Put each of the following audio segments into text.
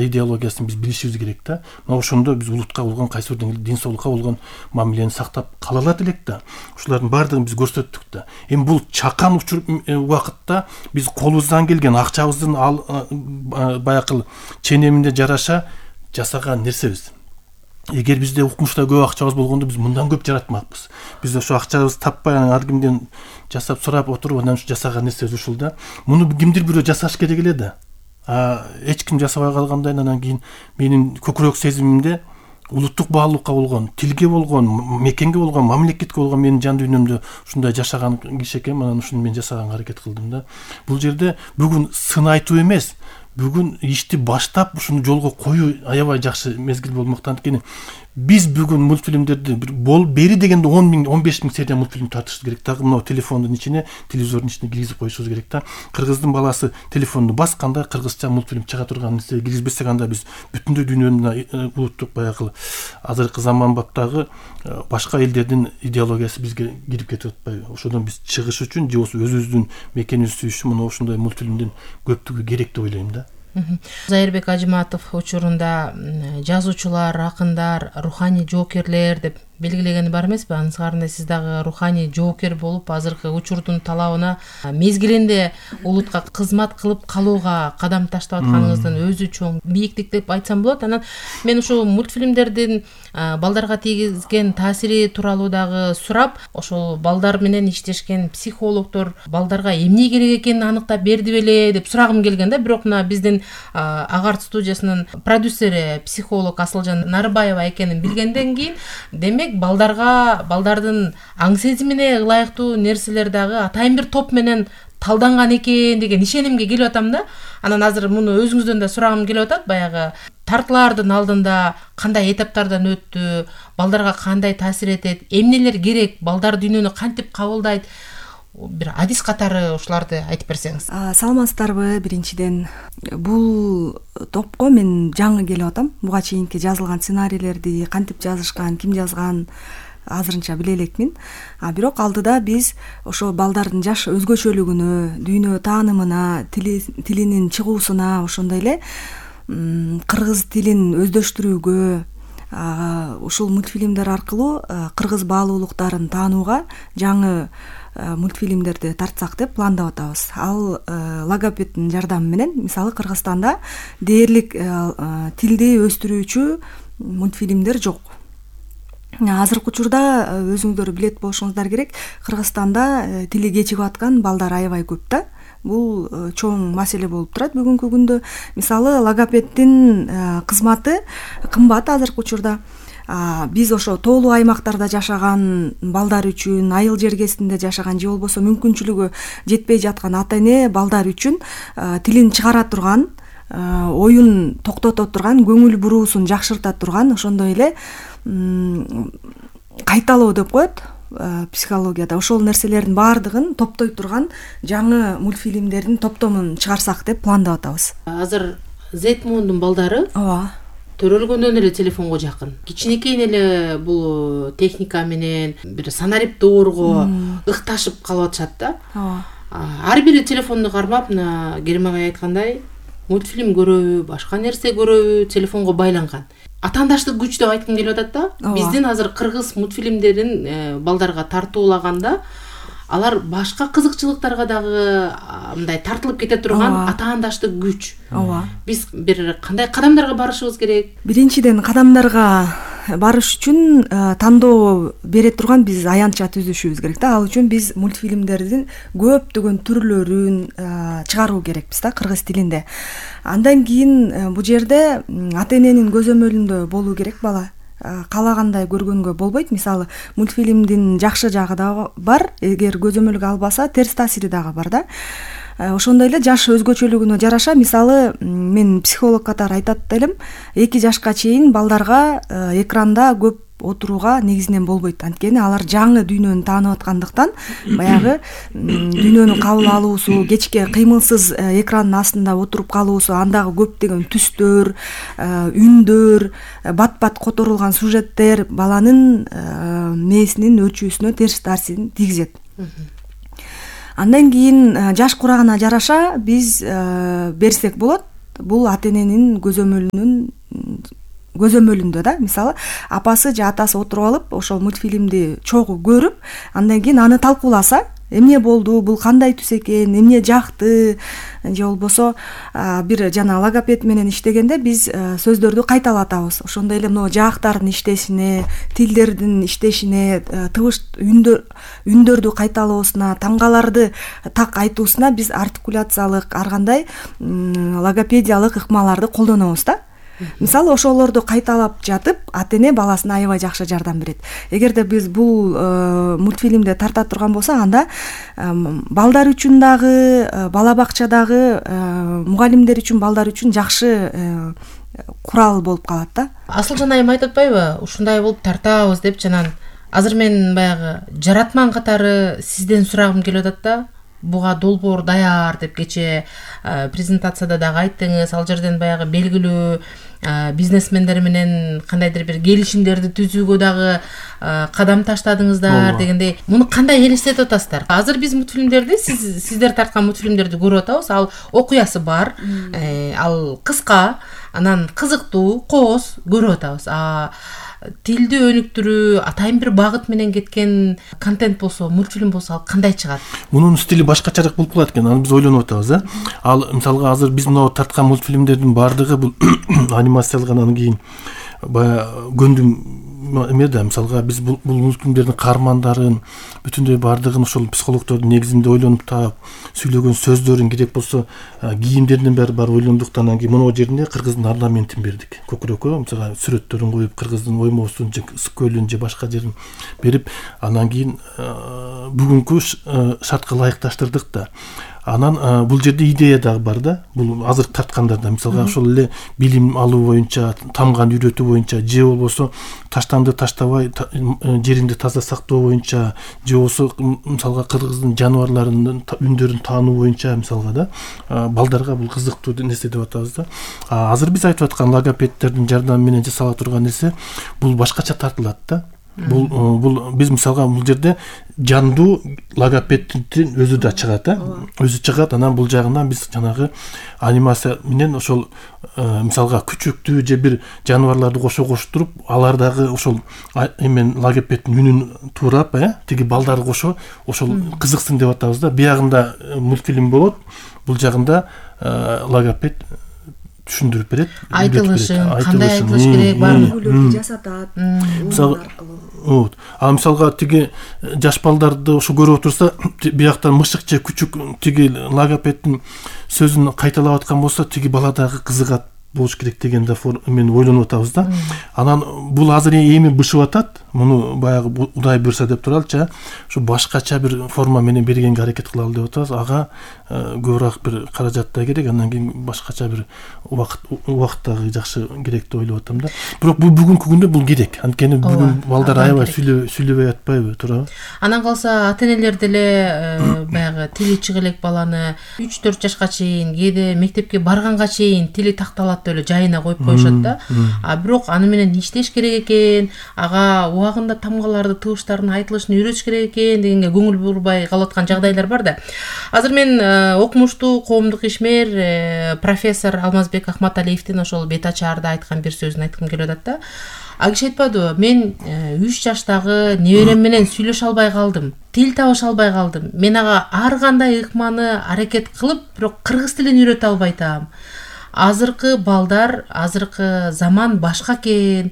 идеологиясын биз билишибиз керек да. Мына ошондо биз улутка болгон кайсы бир деңгээлде ден соолукка болгон мамилени сактап кала алат элек да. Ушулардын баардыгын биз көрсөттүк да. Эми бул чакан убакытта биз колубуздан келген акчабыздын баягы ченеминде жараша жасаган нерсебиз. Эгер бизде укмушта көп акчабыз болгондо биз мындан көп жаратмакпыз. Биз ошо акчабызды таппай ар кимден жасап сурап отуруп анан ушу жасаган нерсебиз ушул да. Муну кимдир бирөө жасаш керек эле да. Эч ким жасабай калгандан анан кийин менин көкүрөк сезимимде улуттук баалуулукка болгон, тилге болгон, мекенге болгон, мамлекетке болгон менин жан дүйнөмдө ушундай жашаган киши экенмин, анан ушуну мен жасаганга аракет кылдым да. Бул жерде бүгүн сын айтуу эмес, бүгүн ишти баштап ушуну жолго коюу аябай жакшы мезгил болмокта. Анткени биз бүгүн мультфильмдерди бери дегенде 10 000, 15 000 серия мультфильм тартышыбыз керек. Дагы мына телефондун ичине, телевизордун ичине киргизип коюшубуз керек да. Кыргыздын баласы телефонду басканда кыргызча мультфильм чыга турган нерсе киргизбесек, анда биз бүтүндөй дүйнөнүн улуттук баягы азыркы заманбаптагы башка элдердин идеологиясы бизге кирип кетип атпайбы? Ошодон биз чыгыш үчүн же болбосо өзүбүздүн мекенибизди сүйүш үчүн мына ушундай мультфильмдин көптүгү керек деп ойлойм да. Зайырбек Ажыматов учурунда жазуучулар, акындар, руханий жоокерлер деп белгилегени бар эмеспи? Анын сыртында сиз дагы руханий жоокер болуп, азыркы учурдун талабына мезгилинде улутка кызмат кылып калууга кадам таштап атканыңыздын өзү чоң бийиктик деп айтсам болот. Анан мен ушул мультфильмдердин балдарга тийгизген таасири тууралуу дагы сурап, ошол балдар менен иштешкен психологдор балдарга эмне керек экенин аныктап берди беле деп сурагым келген да. Бирок мына биздин Агарт студиясынын продюсери психолог Асылжан Нарыбаева экенин билгенден кийин, демек балдардын аң сезимине ылайыктуу нерселер дагы атайын бир топ менен талданган экен деген ишенимге келип атам да. Анан азыр муну өзүңүздөн да сурагым келип атат. Баягы тартылаардын алдында кандай этаптардан өттү, балдарга кандай таасир этет, эмнелер керек, балдар дүйнөнү кантип кабылдайт, бир адис катары ушуларды айтып берсеңиз. Саламатсыздарбы? Биринчиден бул топко мен жаңы келип атам. Буга чейинки жазылган сценарийлерди кантип жазышкан, ким жазган азырынча биле элекмин. Бирок алдыда биз ошо балдардын жаш өзгөчөлүгүнө, дүйнө таанымына, тилинин чыгуусуна, ошондой эле кыргыз тилин өздөштүрүүгө, ушул мультфильмдер аркылуу кыргыз баалуулуктарын таанууга жаңы мультфильмдерди тартсак деп пландап атабыз. Ал логопеддин жардамы менен, мисалы Кыргызстанда дээрлик тилди өстүрүүчү мультфильмдер жок. Азыркы учурда өзүңүздөр билет болушуңуздар керек, Кыргызстанда тили кечигип аткан балдар аябай көп да. Бул чоң маселе болуп турат бүгүнкү күндө. Мисалы логопеддин кызматы кымбат азыркы учурда. Биз ошо тоолуу аймактарда жашаган балдар үчүн, айыл жергесинде жашаган же болбосо мүмкүнчүлүгү жетпей жаткан ата-эне балдар үчүн тилин чыгара турган, оюн токтото турган, көңүл буруусун жакшырта турган, ошондой эле кайталоо деп коет психологияда. Ошол нерселердин баардыгын топтой турган жаңы мультфильмдердин топтомун чыгарсак деп пландап атабыз. Азыр Зетмондун балдары төрөлгөндөн эле телефонго жакын. Кичинекейин эле бул техника менен бир санарип доорго ыкташып калып атышат да. Ар бири телефонду кармап, мына Керим агай айткандай, мультфильм көрөбү, башка нерсе көрөбү, телефонго байланган. Атаандаштык күч деп айткым келип атат да. Биздин азыр кыргыз мультфильмдерин балдарга тартуулаганда алар башка кызыкчылыктарга дагы мындай тартылып кете турган атаандаштык күч. Биз бир кандай кадамдарга барышыбыз керек? Биринчиден кадамдарга барыш үчүн тандоо бере турган биз аянтча түзүшүбүз керек да. Ал үчүн биз мультфильмдердин көптөгөн түрлөрүн чыгаруу керекпиз да кыргыз тилинде. Андан кийин бул жерде ата-эненин көзөмөлүндө болуу керек бала. Калагандай көргөнгө болбойт. Мисалы, мультфильмдин жакшы жагы да бар, эгер көзөмөлгө албаса, терс таасири дагы бар да. Ошондой эле жаш өзгөчөлүгүнө жараша, мисалы, мен психолог катары айтат элем, 2 жашка чейин балдарга экранда көп отурууга негизинен болбойт. Анткени алар жаңы дүйнөнү таанып аткандыктан, баягы дүйнөнү кабыл алуусу, кечке кыймылсыз экрандын астында отуруп калуусу, андагы көптөгөн түстөр, үндөр, бат-бат которулган сюжеттер баланын мээсинин өчүүсүнө терс таасирин тийгизет. Андан кийин жаш курагына жараша биз берсек болот. бул ата эненин көзөмөлүндө да. Мисалы апасы же атасы отуруп алып ошол мультфильмди чогуу көрүп, андан кийин аны талкууласа, эмне болду, бул кандай түс экен, эмне жакты, же болбосо бир жана логопед менен иштегенде биз сөздөрдү кайталатабыз. Ошондой эле мына жаактардын иштешине, тилдердин иштешине, тыбыш үндөрдү кайталоосуна, тамгаларды так айтуусуна биз артикуляциялык ар кандай логопедиялык ыкмаларды колдонобуз да. Мисалы ошолорду кайталап жатып, ата эне баласына аябай жакшы жардам берет. Эгерде биз бул мультфильмди тарта турган болсок, анда балдар үчүн дагы, бала бакчадагы мугалимдер үчүн, балдар үчүн жакшы курал болуп калат да. Асылжан айым айтып атпайбы, ушундай болуп тартабыз деп жанан. Азыр мен баягы жаратман катары сизден сурагым келип атат да. Буга долбоор даяр деп кече презентацияда дагы айттыңыз. Ал жерден баягы белгилүү бизнесмендер менен кандайдыр бир келишимдерди түзүүгө дагы кадам таштадыңыздар дегендей. Муну кандай элестетип атасыздар? Азыр биз мультфильмдерди, сиздер тарткан мультфильмдерди көрүп атабыз. Ал окуясы бар, ал кыска, анан кызыктуу, кооз көрүп атабыз. Тилди өнүктүрүү, атайын бир багыт менен кеткен контент болсо, мультфильм болсо, ал кандай чыгат? Мунун стили башкачараак болуп калат экен. Аны биз ойлонуп атабыз, Ал мисалга азыр биз мына тарткан мультфильмдердин баардыгы бул анимациялык, анан кийин баягы көндүм эме да. Мисалга биз бул мультфильмдердин каармандарын бүтүндөй баардыгын ошол психологдордун негизинде ойлонуп таап, сүйлөгөн сөздөрүн, керек болсо кийимдеринин баары ойлондук. Анан кийин монго жерине кыргыздын орнаментин бердик. Көкүрөккө мисалга сүрөттөрүн коюп, кыргыздын оймосун же скөлүн же башка жерин берип, анан кийин бүгүнкү шартка ылайыкташтырдык да. Анан бул жерде идея дагы бар да. Бул азыр тарткандарда мисалга ошол эле билим алуу боюнча, тамган үйрөтүү боюнча, же болбосо таштанды таштабай жеринди таза сактоо боюнча, же болбосо мисалга кыргыздын жаныбарларынын үндөрүн таануу боюнча мисалга да, балдарга бул кызыктуу нерсе деп атабыз да. Азыр биз айтып аткан логопедтердин жардамы менен жасала турган нерсе бул башкача тартылат да. Бул биз мисалга бул жерде жандуу логопедтин өзү да чыгат, өзү чыгат. Анан бул жагынан биз жанагы анимация менен ошол мисалга күчөктүү же бир жаныбарларды коштуруп, алар дагы ошол эмен логопедтин үнүн туурап, тиги балдары кошо ошол кызыксын деп атабыз да. Биягында мультфильм болот, бул жагында логопед түшүндүрүп берет, айтылышын, кандай айтылыш керек, баардыгын жасатат. Мисалга тиги жаш балдарды ошо көрүп отурса, бияктан мышык же күчүк тиги логопедтин сөзүн кайталап аткан болсо, тиги бала дагы кызыгат болуш керек деген да мен ойлонуп атабыз да. Анан бул азыр эми бышып атат. Муну баягы Кудай буйрса деп туралычы, ушу башкача бир форма менен бергенге аракет кылалы деп атабыз. Ага көбүрөөк бир каражат да керек, андан кийин башкача бир убакыт дагы жакшы керек деп ойлоп атам да. Бирок бул бүгүнкү күндө бул керек. Анткени бүгүн балдар аябай сүйлөбөй атпайбы, туурабы? Анан калса ата-энелер деле баягы тили чыга элек баланы 3-4 жашка чейин, кээде мектепке барганга чейин тили такталат деп эле жайына коюп коюшат да. Бирок аны менен иштеш керек экен, ага убагында тамгаларды, тыбыштардын айтылышын үйрөтүш керек экен дегенге көңүл бурбай калып аткан жагдайлар бар да. Азыр мен окумуштуу коомдук ишмер профессор Алмазбек Ахматалиевдин ошол бет ачаарда айткан бир сөзүн айткым келип атат да. Киши айтпадыбы, мен 3 жаштагы неберем менен сүйлөшө албай калдым, тил табыша албай калдым. Мен ага ар кандай ыкманы аракет кылып, бирок кыргыз тилин үйрөтө албай атам. Азыркы балдар, азыркы заман башка экен.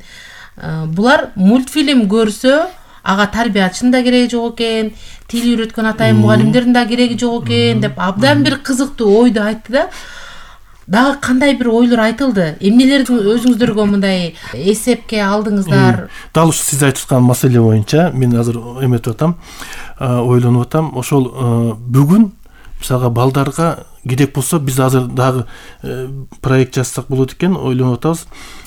Булар мультфильм көрсө, ага тарбиячынын да кереги жок экен, тил үйрөткөн атайын мугалимдердин да кереги жок экен деп абдан бир кызыктуу ойду айтты да. Дагы кандай бир ойлор айтылды? Эмнелерди өзүңүздөргө мындай эсепке алдыңыздар? Дал ушу сиз айтып аткан маселе боюнча мен азыр эметип атам, ойлонуп атам. Ошол бүгүн мисалга балдарга керек болсо, биз азыр дагы проект жазсак болот экен, ойлонуп атабыз.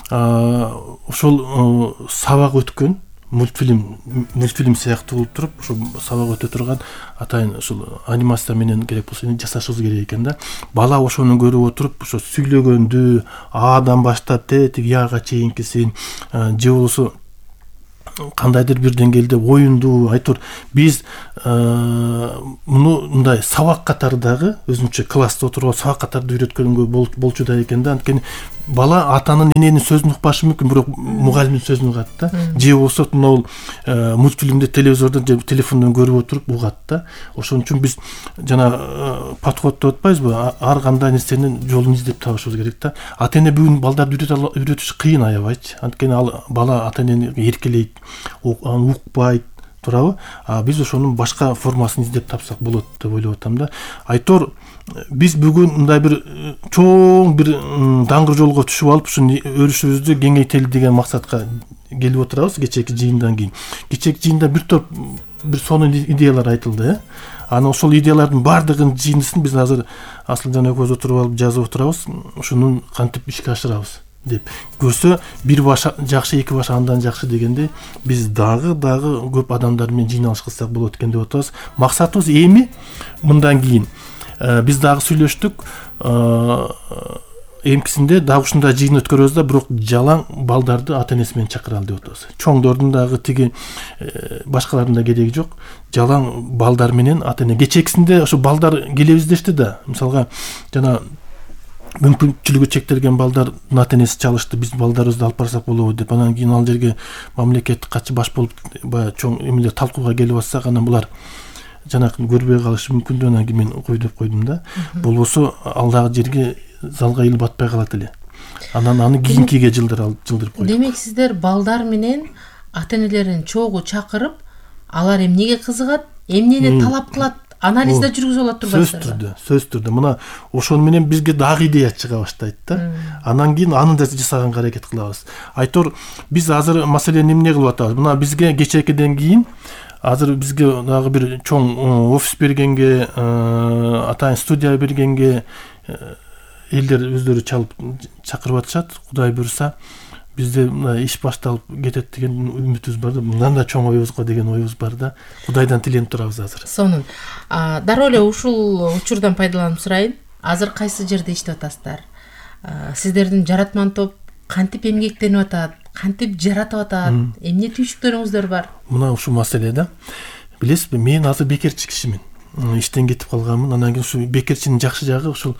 Ошол сабак өткөн мультфильм сыяктуу болуп туруп, ошо сабак өтө турган атайын ошол анимация менен керек болсо жасашыбыз керек экен да. Бала ошону көрүп отуруп, ошо сүйлөгөндү Адан баштап тиги Яга чейинкисин, же болбосо кандайдыр бир деңгээлде оюндуу айтор биз муну мындай сабак катары дагы өзүнчө класста отуруп алып сабак катарда үйрөткөнгө болчу да экен да. Анткени бала атанын эненин сөзүн укпашы мүмкүн, бирок мугалимдин сөзүн угат да. Же болбосо мына мультфильмди телевизордон же телефондон көрүп отуруп угат да. Ошон үчүн биз жана подход деп атпайбызбы, ар кандай нерсенин жолун издеп табышыбыз керек да. Ата эне бүгүн балдарды үйрөтүш кыйын, аябайчы. Анткени ал бала ата энени эркелейт, укпайт, туурабы? Биз ошонун башка формасын издеп тапсак болот деп ойлоп атам да. Айтор биз бүгүн мындай бир чоң бир даңгыр жолго түшүп алып, ушуну өрүшүбүздү кеңейтели деген максатка келип отурабыз кечээки жыйындан кийин. Кечээки жыйында бир топ бир сонун идеялар айтылды. Анан ошол идеялардын баардыгынын жыйындысын биз азыр Асылжан экөөбүз отуруп алып жазып отурабыз. Ушуну кантип ишке ашырабыз деп. Көрсө бир баш жакшы, эки баш андан жакшы дегенде биз дагы көп адамдар менен жыйналыш кылсак болот экен деп атабыз. Максатыбыз эми мындан кийин биз дагы сүйлөштүк. Эмкисинде дагы ушундай жыйын өткөрөбүз да, бирок жалаң балдарды ата энеси менен чакыралы деп атабыз. Чоңдордун дагы тиги башкалардын да кереги жок. Жалаң балдар менен ата эне. Кечээкисинде ошо балдар келебиз дешти да. Мисалга жана мүмкүнчүлүгү чектелген балдардын ата энеси чалышты, биз балдарыбызды алып барсак болобу деп. Анан кийин ал жерге мамлекеттик катчы баш болуп баягы чоң эмелер талкууга келип атсак, анан булар жанакы көрбөй калышы мүмкүн деп, анан кийин мен кой деп койдум да. Болбосо ал дагы жерге залга илип батпай калат эле. Анан аны кийинкиге жылдырып койдук. Демек сиздер балдар менен ата энелерин чогуу чакырып, алар эмнеге кызыгат, эмнени талап кылат, анализде жүргүзүп алат турбайсыздарбы? Сөз түрдө. Мына ошон менен бизге дагы идея чыга баштайт да. Анан кийин аны да жасаганга аракет кылабыз. Айтор биз азыр маселени эмне кылып атабыз? Мына бизге кечээкиден кийин азыр бизге дагы бир чоң офис бергенге, атайын студия бергенге элдер өздөрү чалып чакырып атышат. Кудай буйруса бизде иш башталып кетет деген үмүтүбүз бар да. Мындан да чоң оюбузга деген оюбуз бар да. Кудайдан тиленип турабыз азыр. Сонун. Дароо эле ушул учурдан пайдаланып сурайын. Азыр кайсы жерде иштеп атасыздар? Сиздердин жаратман топ кантип эмгектенип атат? Кантип жаратып атат? Эмне түйшүктөрүңүздөр бар? Мына ушул маселе да. Билесизби, мен азыр бекерчи кишимин. Иштен кетип калганмын. Анан кийин ушул бекерчинин жакшы жагы ушул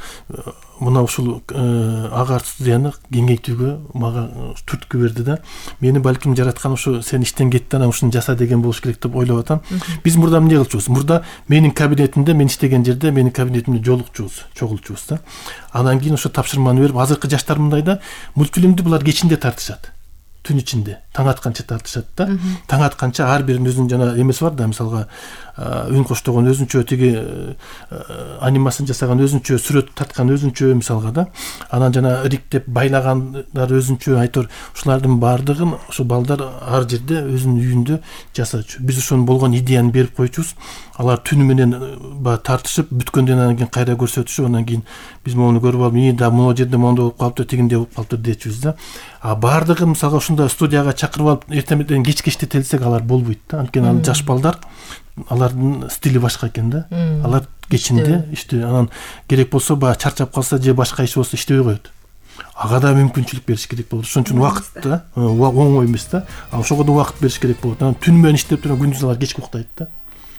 мына ушул агар студияны кеңейтүүгө мага түрткү берди да. Мени балким жараткан ушу сен иштен кеттиң, анан ушуну жаса деген болуш керек деп ойлоп атам. Биз мурда эмне кылчубуз? Мурда менин кабинетимде, мен иштеген жерде менин кабинетимде чогулчубуз да. Анан кийин ошо тапшырманы берип, азыркы жаштар мындай да, мультфильмди булар кечинде тартышат. Түн ичинде таң атканча тартышат да. Таң атканча ар биринин өзүнүн жана эмеси бар да. Мисалга үн коштогон өзүнчө, тиги анимасын жасаган өзүнчө, сүрөт тарткан өзүнчө мисалга да. Анан жана ириктеп байлагандар өзүнчө. Айтор ушулардын баардыгын ошо балдар ар жерде өзүнүн үйүндө жасачу. Биз ошону болгон идеяны берип койчубуз. Алар түнү менен тартышып, бүткөндөн анан кийин кайра көрсөтүшүп, анан кийин биз мону көрүп алып, да могу жерде моундай болуп калыптыр, тигинде болуп калыптыр дечүбүз да. Баардыгын мисалга ушундай студияга чакырып алып, эртең кечке иштетелсек алар болбойт да. Анткени ал жаш балдар, алардын стили башка экен да. Алар кечинде ишти, анан керек болсо баягы чарчап калса же башка иш болсо иштебей коет. Ага да мүмкүнчүлүк бериш керек болот. Ошон үчүн убакыт да, оңой эмес да. Ошого да убакыт бериш керек болот. Анан түн менен иштеп турган, күндүз алар кечке уктайт да.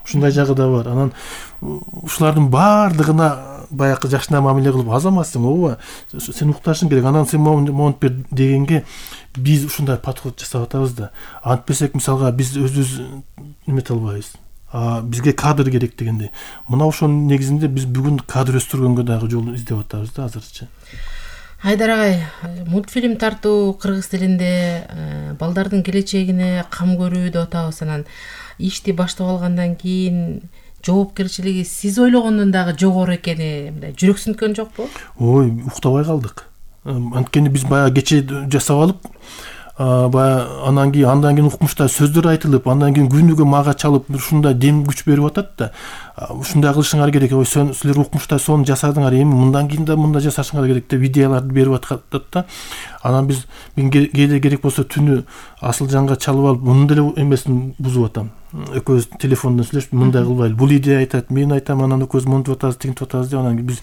Ушундай жагы да бар. Анан ушулардын баардыгына баягы жакшына мамиле кылып, азаматсың, ооба, сен укташың керек, анан сен монт бер дегенге биз ушундай подход жасап атабыз да. Антпесек, мисалга биз өзүбүз эмете албайбыз. Бизге кадр керек дегенде. Мына ошонун негизинде биз бүгүн кадр өстүргөнгө дагы жол издеп атабыз да азырчы. Айдар агай, мультфильм тартуу кыргыз тилинде балдардын келечегине кам көрүү деп атабыз. Анан ишти баштап алгандан кийин жоопкерчилиги сиз ойлогондон дагы жогору экени мындай жүрөксүнткөн жокпу? Ой, уктабай калдык. Анткени биз баягы кече жасап алып, андан кийин укмуштай сөздөр айтылып, андан кийин күнүгө мага чалып ушундай дем күч берип атат да. Ушундай кылышыңар керек, ой силер укмуштай сону жасадыңар, эми мындан кийин да мындай жасашыңар керек деп идеяларды берип атат да. Анан мен кээде керек болсо түнү Асылжанга чалып алып, мунун деле эмесин бузуп атам. Экөөбүз телефондон сүйлөшүп, мындай кылбайлы, бул идея айтат, мен айтам, анан экөөбүз монтип атабыз, тигинтип атабыз деп. Анан биз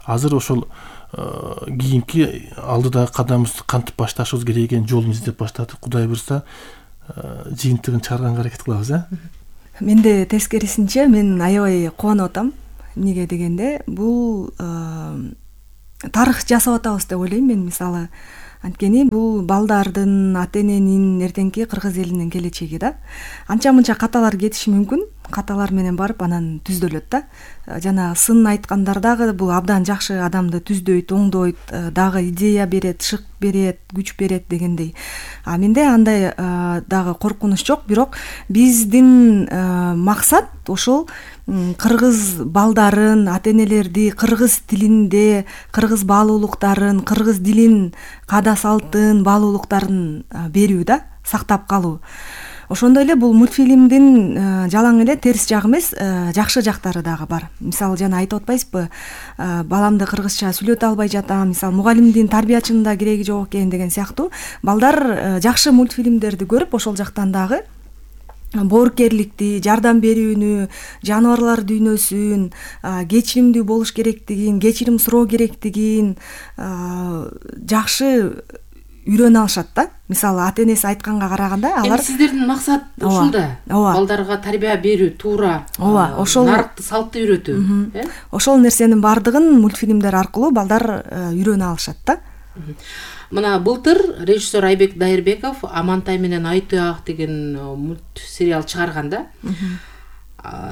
азыр ошол кийинки алдыдагы кадамыбызды кантип башташыбыз керек экенин жолун издеп баштадык. Кудай буйруса, жыйынтыгын чыгарганга аракет кылабыз. Менде тескерисинче мен аябай кубанып атам. Эмнеге дегенде бул тарых жасап атабыз деп ойлойм мен. Мисалы анткени бул балдардын, ата эненин, эртеңки кыргыз элинин келечеги да. Анча мынча каталар кетиши мүмкүн. Каталар менен барып анан түздөлөт да. Жана сын айткандар дагы бул абдан жакшы адамды түздөйт, оңдойт, дагы идея берет, шык берет, күч берет дегендей. Менде андай дагы коркунуч жок, бирок биздин максат ошол кыргыз балдарын, ата энелерди кыргыз тилинде, кыргыз баалуулуктарын, кыргыз дилин, каада салтын, баалуулуктарын берүү да, сактап калуу. Ошондой эле бул мультфильмдин жалаң эле терс жагы эмес, жакшы жактары дагы бар. Мисалы жана айтып атпайсызбы, баламды кыргызча сүйлөтө албай жатам, мисалы мугалимдин, тарбиячынын да кереги жок экен деген сыяктуу. Балдар жакшы мультфильмдерди көрүп, ошол жактан дагы боорукерликти, жардам берүүнү, жаныбарлар дүйнөсүн, кечиримдүү болуш керектигин, кечирим суроо керектигин жакшы үйрөнө алышат да. Мисалы ата энеси айтканга караганда алар сиздердин максат ушул да. Балдарга тарбия берүү, туура, ошол нарыкты, салтты үйрөтүү. Ошол нерсенин баардыгын мультфильмдер аркылуу балдар үйрөнө алышат да. Мына былтыр режиссер Айбек Дайырбеков Амантай менен Ай Туяк деген мультсериал чыгарганда,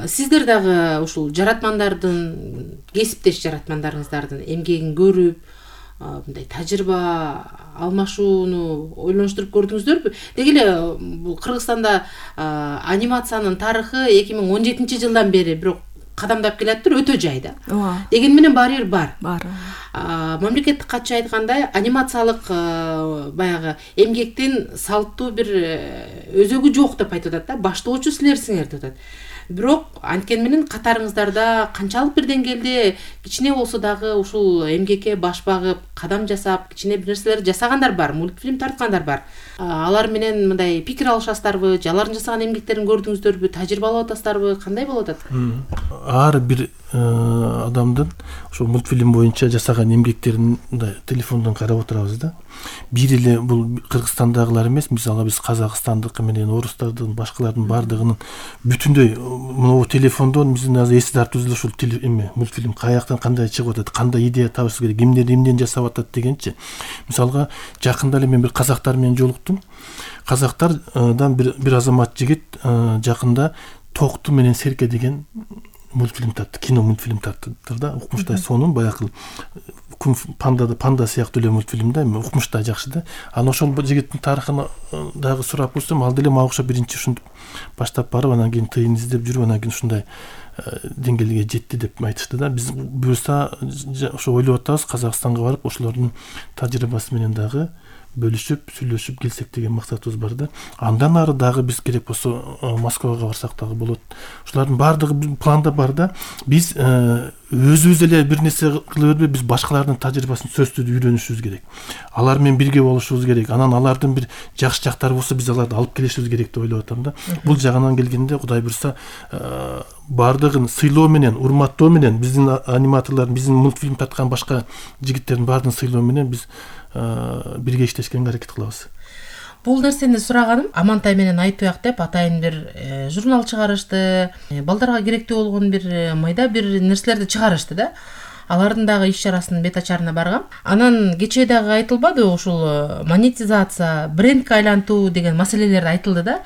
сиздер дагы ушул жаратмандардын, кесиптеш жаратмандарыңыздардын эмгегин көрүп, мындай тажрыйба алмашууну ойлонуштуруп көрдүңүздөрбү? Деги эле бул Кыргызстанда анимациянын тарыхы 2017 жылдан бери бирок кадамдап келаттыр, өтө жайда. Деген менен баары бар. Мамлекеттик катчы айткандай, анимациялык баягы эмгектин салттуу бир өзөгү жок деп айтып атат да. Баштоочу силерсиңер деп атат. Бирок анткени менен катарыңыздарда канчалык бир деңгээлде кичине болсо дагы ушул эмгекке баш багып, кадам жасап, кичине бир нерселер жасагандар бар, мультфильм тарткандар бар. Алар менен мындай пикир алышасыздарбы, алардын жасаган эмгектерин көрдүңүздөрбү, тажрыйбалап атасыздарбы, кандай болуп атат? Ар бир адамдын ошол мультфильм боюнча жасаган эмгектерин телефондон карап отурабыз да. Бир эле бул Кыргызстандагылар эмес, мисалы биз Казакстандык менен орустардын, башкалардын баардыгынын бүтүндөй могу телефондон биздин азыр эсти тартыбыз эле ушул мультфильм каяктан кандай чыгып атат, кандай идея табыш керек, кимдер эмнеден жасап атат дегенчи. Мисалга жакында эле мен бир казактар менен жолуктум. Казактардан бир азамат жигит жакында Токту менен Серке деген мультфильм тартты, кино мультфильм тарттыр да. Укмуштай сонун баягы панда сыяктуу эле мультфильм да, укмуштай жакшы да. Анан ошол жигиттин тарыхын дагы сурап көрсөм, ал деле мага окшоп биринчи ушинтип баштап барып, анан кийин тыйын издеп жүрүп, анан кийин ушундай деңгээлге жетти деп айтышты да. Биз буюрса ошо ойлоп атабыз, Казакстанга барып ошолордун тажрыйбасы менен дагы бөлүшүп, сүйлөшүп келсек деген максатыбыз бар да. Андан ары дагы биз керек болсо Москвага барсак дагы болот. Ушулардын баардыгы планда бар да. Биз өзүбүз эле бир нерсе кыла бербей, биз башкалардын тажрыйбасын сөзсүз үйрөнүшүбүз керек. Алар менен бирге болушубуз керек. Анан алардын бир жакшы жактары болсо, биз аларды алып келишибиз керек деп ойлоп атам да. Бул жагынан келгенде, Кудай буйрса, баардыгын сыйлоо менен, урматтоо менен, биздин аниматорлордун, биздин мультфильм тарткан башка жигиттердин баардыгын сыйлоо менен биз бирге иштешкенге аракет кылабыз. Бул нерсени сураганым, Амантай менен Ай Туяк деп атайын бир журнал чыгарышты, балдарга керектүү болгон бир майда бир нерселерди чыгарышты да. Алардын дагы иш чарасынын бет ачарына баргам. Анан кечээ дагы айтылбады, ушул монетизация, брендке айлантуу деген маселелер айтылды да.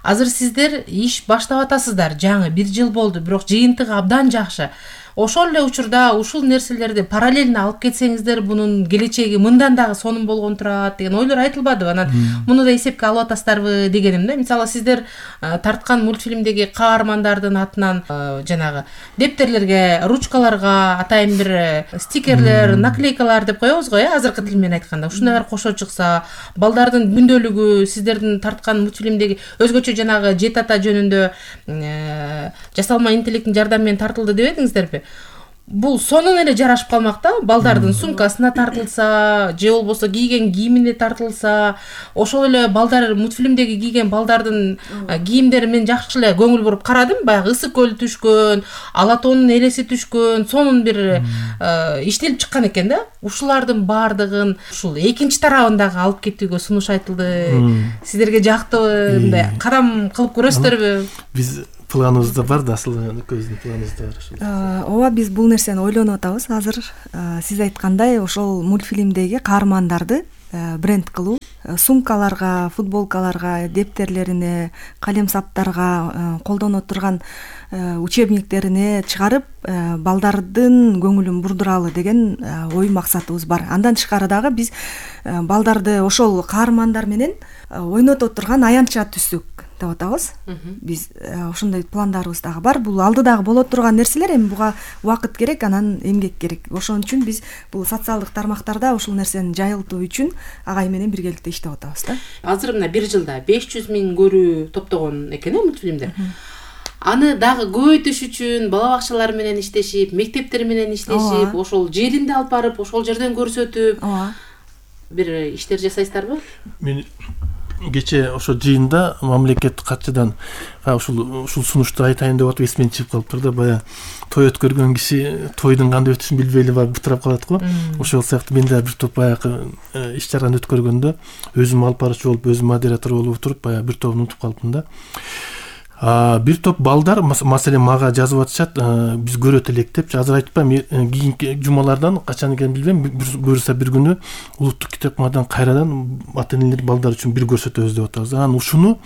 Азыр сиздер иш баштап атасыздар, жаңы 1 жыл болду, бирок жыйынтыгы абдан жакшы. Ошол эле учурда ушул нерселерди параллельно алып кетсеңиздер, бунун келечеги мындан дагы сонун болгон турат деген ойлор айтылбадыбы? Анан муну да эсепке алып атасыздарбы дегеним да. Мисалы сиздер тарткан мультфильмдеги каармандардын атынан жанагы дептерлерге, ручкаларга атайын бир стикерлер, наклейкалар деп коебуз го, азыркы тил менен айтканда. Ушундайлар кошо чыкса, балдардын күндөлүгү, сиздердин тарткан мультфильмдеги өзгөчө жанагы Жет ата жөнүндө жасалма интеллекттин жардамы менен тартылды дебедиңиздерби? бул сонун эле жарашып калмак да. Балдардын сумкасына тартылса, же болбосо кийген кийимине тартылса, ошол эле балдар мультфильмдеги кийген балдардын кийимдери мен жакшы эле көңүл буруп карадым. Баягы ысык көл түшкөн, ала тоонун элеси түшкөн, сонун бир иштелип чыккан экен да. Ушулардын баардыгын ушул экинчи тарабындагы алып кетүүгө сунуш айтылды. Сиздерге жактыбы, мындай кадам кылып көрөсүздөрбү? Биз планыбызда бар да, асыл көздүн планыбызда бар. Ооба, биз бул нерсени ойлонуп атабыз азыр. Сиз айткандай, ошол мультфильмдеги каармандарды бренд кылуу, сумкаларга, футболкаларга, дептерлерине, калем саптарга, колдонуп турган учебниктерине чыгарып, балдардын көңүлүн бурдуралы деген ой максатыбыз бар. Андан тышкары дагы биз балдарды ошол каармандар менен ойното турган аянтча түзсөк деп атабыз. Биз ошондой пландарыбыз дагы бар. Бул алдыдагы боло турган нерселер, эми буга убакыт керек, анан эмгек керек. Ошон үчүн биз бул социалдык тармактарда ушул нерсени жайылтуу үчүн агай менен биргеликте иштеп атабыз да. Азыр мына бир жылда 500 000 көрүү топтогон экен мультфильмдер. Аны дагы көбөйтүш үчүн бала бакчалар менен иштешип, мектептер менен иштешип, ошол жеринде алып барып, ошол жерден көрсөтүп, бир иштер жасайсыздарбы? Мен кече ошо жыйында мамлекеттик катчыдан ушул сунушту айтайын деп атып эсимден чыгып калыптыр да. Баягы той өткөргөн киши тойдун кандай өтүшүн билбей эле барып бутурап калат го. Ошол сыяктуу мен да бир топ баягы иш чараны өткөргөндө өзүм алып баруучу болуп, өзүм модератор болуп туруп, баягы бир тобун унутуп калыптым да. Бир топ балдар маселен мага жазып атышат, биз көрөт элек депчи. Азыр айтпайм, кийинки жумалардан качан экенин билбейм, буюрса бир күнү улуттук китепканадан кайрадан ата энелер балдар үчүн бир көрсөтөбүз деп атабыз. Анан ушуну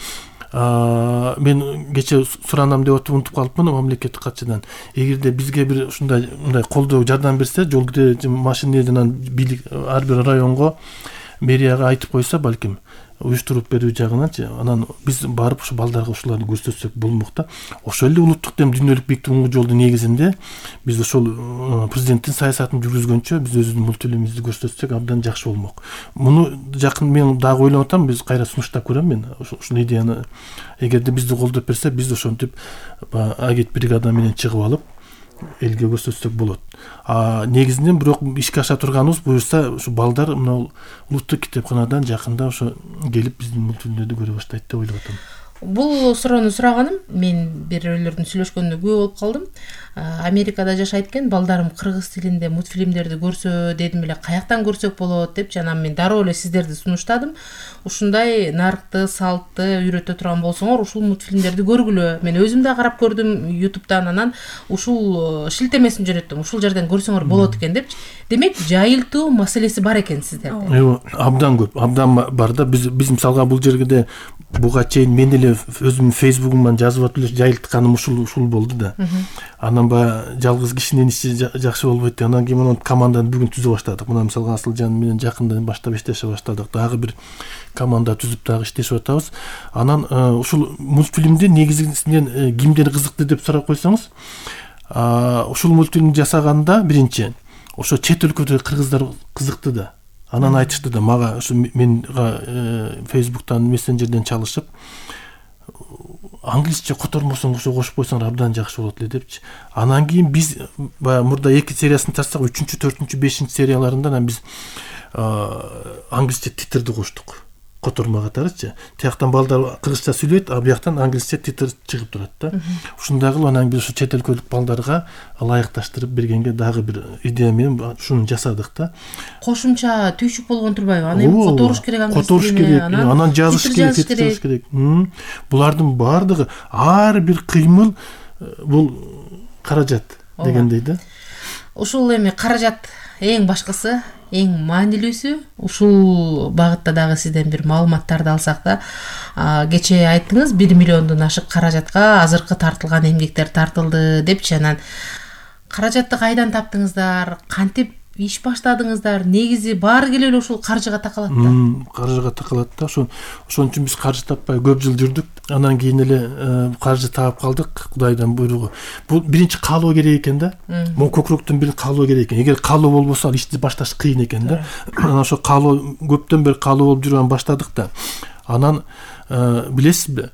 мен кече суранам деп атып унутуп калыпмын мамлекеттик катчыдан. Эгерде бизге бир ушундай мындай колдоо жардам берсе, жол машинеден бийлик ар бир районго, мэрияга айтып койсо, балким уюштуруп берүү жагынанчы, анан биз барып ушу балдарга ушуларды көрсөтсөк болмок да. Ошол эле улуттук дем дүйнөлүк бийлик турунгу жолдун негизинде биз ошол президенттин саясатын жүргүзгөнчө биз өзүбүздүн мультфильмибизди көрсөтсөк абдан жакшы болмок. Муну жакын мен дагы ойлонуп атам, биз кайра сунуштап көрөм мен ушул идеяны. Эгерде бизди колдоп берсе, биз ошентип агент бригада менен чыгып алып элге көрсөтсөк болот. Негизинен бирок ишке аша турганыбыз буюрса ушу балдар мына улуттук китепканадан жакында ошо келип биздин мультфильмдерди көрө баштайт деп ойлоп атам. Бул суроону сураганым мен бирөөлөрдүн сүйлөшкөнүнө күбө болуп калдым. Америкада жашайт экен, балдарым кыргыз тилинде мультфильмдерди көрсө дедим эле, каяктан көрсөк болот депчи. Анан мен дароо эле сиздерди сунуштадым. Ушундай наркты, салтты үйрөтө турган болсоңор, ушул мультфильмдерди көргүлө. Мен өзүм да карап көрдүм YouTube'дан, анан ушул шилтемесин жөнөттүм. Ушул жерден көрсөңөр болот экен депчи. Демек, жайылтуу маселеси бар экен сиздерде. Абдан көп, абдан бар да. Биз мисалга бул жерде буга чейин мен эле өзүмдүн фейсбугумдан жазып атып эле жайылтканым ушул болду да. Анан баягы жалгыз кишинин иши жакшы болбойт да. Анан кийин команданы бүгүн түзө баштадык. Мына мисалга Асылжан менен жакындан баштап иштеше баштадык. Дагы бир команда түзүп дагы иштешип атабыз. Анан ушул мультфильмди негизинен кимдер кызыкты деп сурап койсоңуз, ушул мультфильмди жасаганда биринчи ошо чет өлкөдөгү кыргыздар кызыкты да. Анан айтышты да мага, ушу менга фейсбуктан, мессенджерден чалышып, англисче котормосоң ошо кошуп койсоң абдан жакшы болот эле депчи. Анан кийин биз баягы мурда 2 сериясын тартсак, 3-чү, 4-чү, 5-чи серияларында анан биз англисче титрди коштук. Котормо катарычы. Тияктан балдар кыргызча сүйлөйт, а бияктан англисче титр чыгып турат да. Ушундай кылып анан биз ушу чет өлкөлүк балдарга ылайыкташтырып бергенге дагы бир идея менен ушуну жасадык да. Кошумча түйшүк болгон турбайбы? Аны эми которуш керек, которуш керек, анан жазыш керек. Булардын баардыгы, ар бир кыймыл бул каражат дегендей да. Ушул эми каражат эң башкысы, эң маанилүүсү. Ушул багытта дагы сизден бир маалыматтарды алсак да, кече айттыңыз 1 миллиондон ашык каражатка азыркы тартылган эмгектер тартылды депчи. Анан каражатты кайдан таптыңыздар, кантип иш баштадыңыздар? Негизи баары келе эле ушул каржыга такалат да. Каржыга такалат да. Ошон үчүн биз каржы таппай көп жыл жүрдүк. Анан кийин эле каржы таап калдык, Кудайдан буйругу. Бул биринчи каалоо керек экен да. Могу көкүрөктөн бир каалоо керек экен. Эгер каалоо болбосо, ишти башташ кыйын экен да. Анан ошо каалоо, көптөн бери каалоо болуп жүргөн баштадык да. Анан билесизби,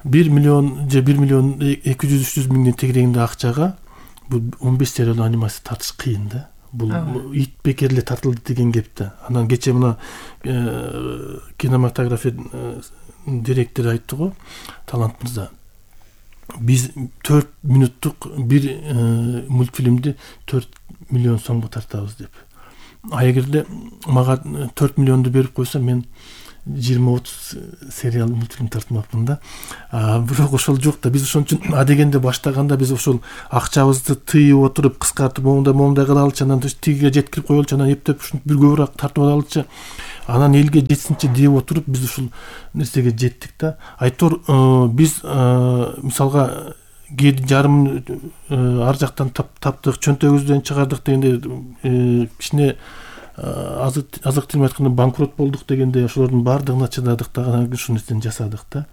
1 миллион же 1 миллион 200-300 миңдин тегерегинде акчага бул 15 сериялуу анимация тартыш кыйын да. Бул ит бекер эле тартылды деген кеп да. Анан кече мына кинематография директору айтты го, Талант мырза. Биз 4 мүнөттүк бир мультфильмди 4 миллион сомго тартабыз деп. А эгерде мага 4 миллионду берип койсо, мен 20-30 сериал мультфильм тартмакмын да. Бирок ошол жок да. Биз ошон үчүн адегенде баштаганда биз ошол акчабызды тыйып отуруп, кыскартып, моундай кыла алчы, анан тигиге жеткирип коелучу, анан эптеп ушинтип бир көбүрөөк тартып алалычы, анан элге жетсинчи деп отуруп биз ушул нерсеге жеттик да. Айтор биз мисалга 7,5 ар жактан таптык, чөнтөгүбүздөн чыгардык дегенде кичине азык түлүм айтканда банкрот болдук дегенде ошолордун баардыгына чыдадык да, анан ушул нерсени жасадык да.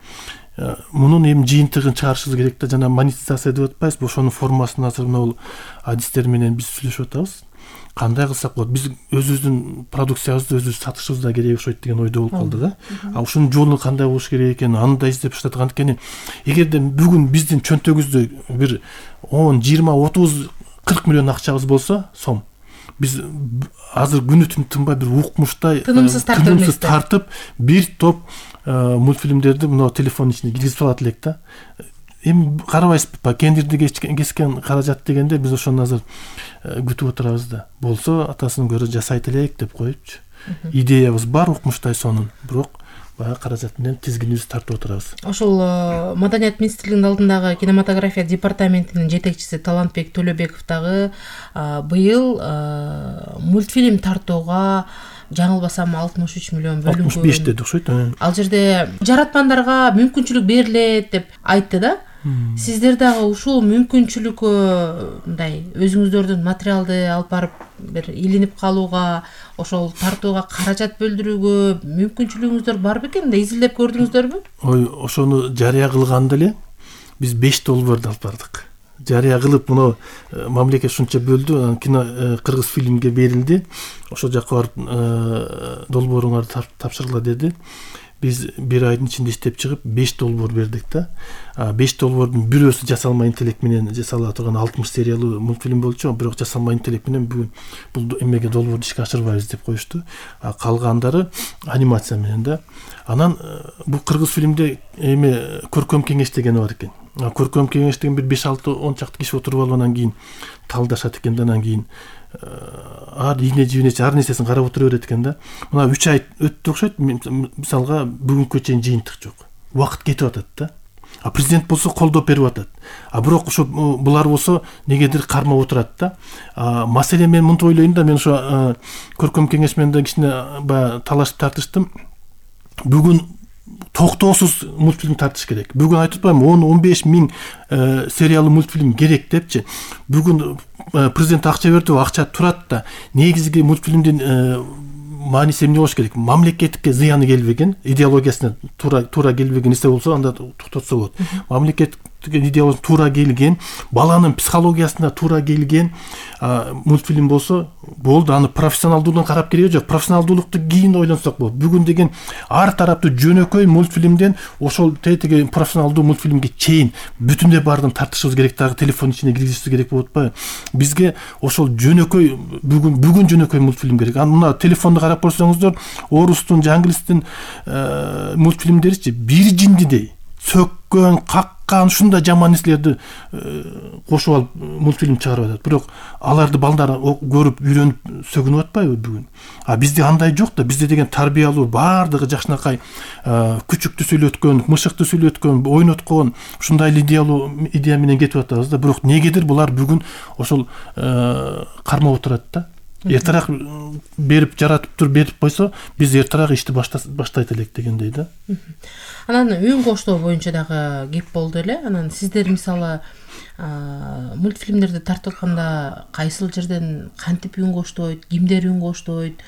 Мунун эми жыйынтыгын чыгарышыбыз керек да. Жана монетизация деп атпайбызбы, ошонун формасын азыр могул адистер менен биз сүйлөшүп атабыз. Кандай кылсак болот? Биз өзүбүздүн продукциябызды өзүбүз сатышыбыз да керек окшойт деген ойдо болуп калдык да. Ушунун жолу кандай болуш керек экенин аны да издеп баштадык. Анткени эгерде бүгүн биздин чөнтөгүбүздө бир 10, 20, 30, 40 миллион акчабыз болсо, сом, биз азыр күнү түн тынбай бир укмуштай тынымсыз тартып бир топ мультфильмдерди мына телефондун ичине киргизип алат элек да. Эми карабайсызбы, кендирди кескен каражат дегенде биз ошону азыр күтүп отурабыз да. Болсо атасын көрө жасайт элек деп коюпчу. Идеябыз бар укмуштай сонун, бирок баягы каражат менен тизгинибизди тартып отурабыз. Ошол Маданият министрлигинин алдындагы кинематография департаментинин жетекчиси Талантбек Төлөбеков дагы быйыл мультфильм тартууга жаңылбасам 63 миллион бөлүнгөн. 65 деди окшойт. Ал жерде жаратмандарга мүмкүнчүлүк берилет деп айтты да. Сиздер дагы ушул мүмкүнчүлүккө мындай өзүңүздөрдүн материалды алып барып бир илинип калууга, ошол тартууга каражат бөлдүрүүгө мүмкүнчүлүгүңүздөр бар бекен да, изилдеп көрдүңүздөрбү? Ой, ошону жарыя кылганда эле биз 5 долбоорду алып бардык. Жарыя кылып, муну мамлекет ушунча бөлдү, кино кыргыз фильмге берилди. Ошол жакка барып долбооруңарды тапшыргыла деди. Биз бир айдын ичинде иштеп чыгып 5 долбоор бердик да. 5 долбоордун бирөөсү жасалма интеллект менен жасала турган 60 сериялуу мультфильм болчу, бирок жасалма интеллект менен бүгүн бул эмеге долбоорду ишке ашырбайбыз деп коюшту. Калгандары анимация менен да. Анан бул кыргыз фильмде эме көркөм кеңеш деген бар экен. Көркөм кеңеш деген бир 5-6-10 чакты киши отуруп алып анан кийин талдашат экен да, анан кийин ийне жибинечи ар нерсесин карап отура берет экен да. Мына 3 ай өттү окшойт. Мисалга бүгүнкү чейин жыйынтык жок. Убакыт кетип атат да. Президент болсо колдоп берип атат. Бирок ошо булар болсо негедир кармап отурат да. Маселе мен мынтип ойлойм да, мен ошо көркөм кеңеш менен да кичине баягы талашып тартыштым. Бүгүн токтоосуз мультфильм тартыш керек. Бүгүн айтып атпаймынбы, 10-15 миң сериялуу мультфильм керек депчи. Бүгүн президент акча берди, акча турат да. Негизги мультфильмдин мааниси эмне болуш керек? Мамлекетке зыяны келбеген, идеологиясына туура келбеген нерсе болсо анда токтотсо болот. Мамлекетке идеологиясына туура келген, баланын психологиясына туура келген мультфильм болсо болду. Аны профессионалдуулугун карап кереги жок. Профессионалдуулукту кийин ойлонсок болот. Бүгүн деген ар тараптуу жөнөкөй мультфильмден ошол теги профессионалдуу мультфильмге чейин бүтүндөй баардыгын тартышыбыз керек, дагы телефон ичине киргизишибиз керек болуп атпайбы? Бизге ошол жөнөкөй бүгүн жөнөкөй мультфильм керек. Мына телефонду карап көрсөңүздөр, орустун, англистин мультфильмдеричи бир жиндидей сөккөн, каккан, ушундай жаман нерселерди кошуп алып мультфильм чыгарып атат. Бирок аларды балдар көрүп, үйрөнүп сөгүнүп атпайбы бүгүн? Бизде андай жок да. Бизде деген тарбиялуу, баардыгы жакшынакай күчүктү сүйлөткөн, мышыкты сүйлөткөн, ойноткон, ушундай идея менен кетип атабыз да. Бирок негедир булар бүгүн ошол кармап отурат да. Эртерээк берип жаратып туруп берип койсо, биз эртерээк ишти баштайт элек дегендей да. Анан үн коштоо боюнча дагы кеп болду эле. Анан сиздер мисалы мультфильмдерди тартып атканда кайсыл жерден кантип үн коштойт, кимдер үн коштойт?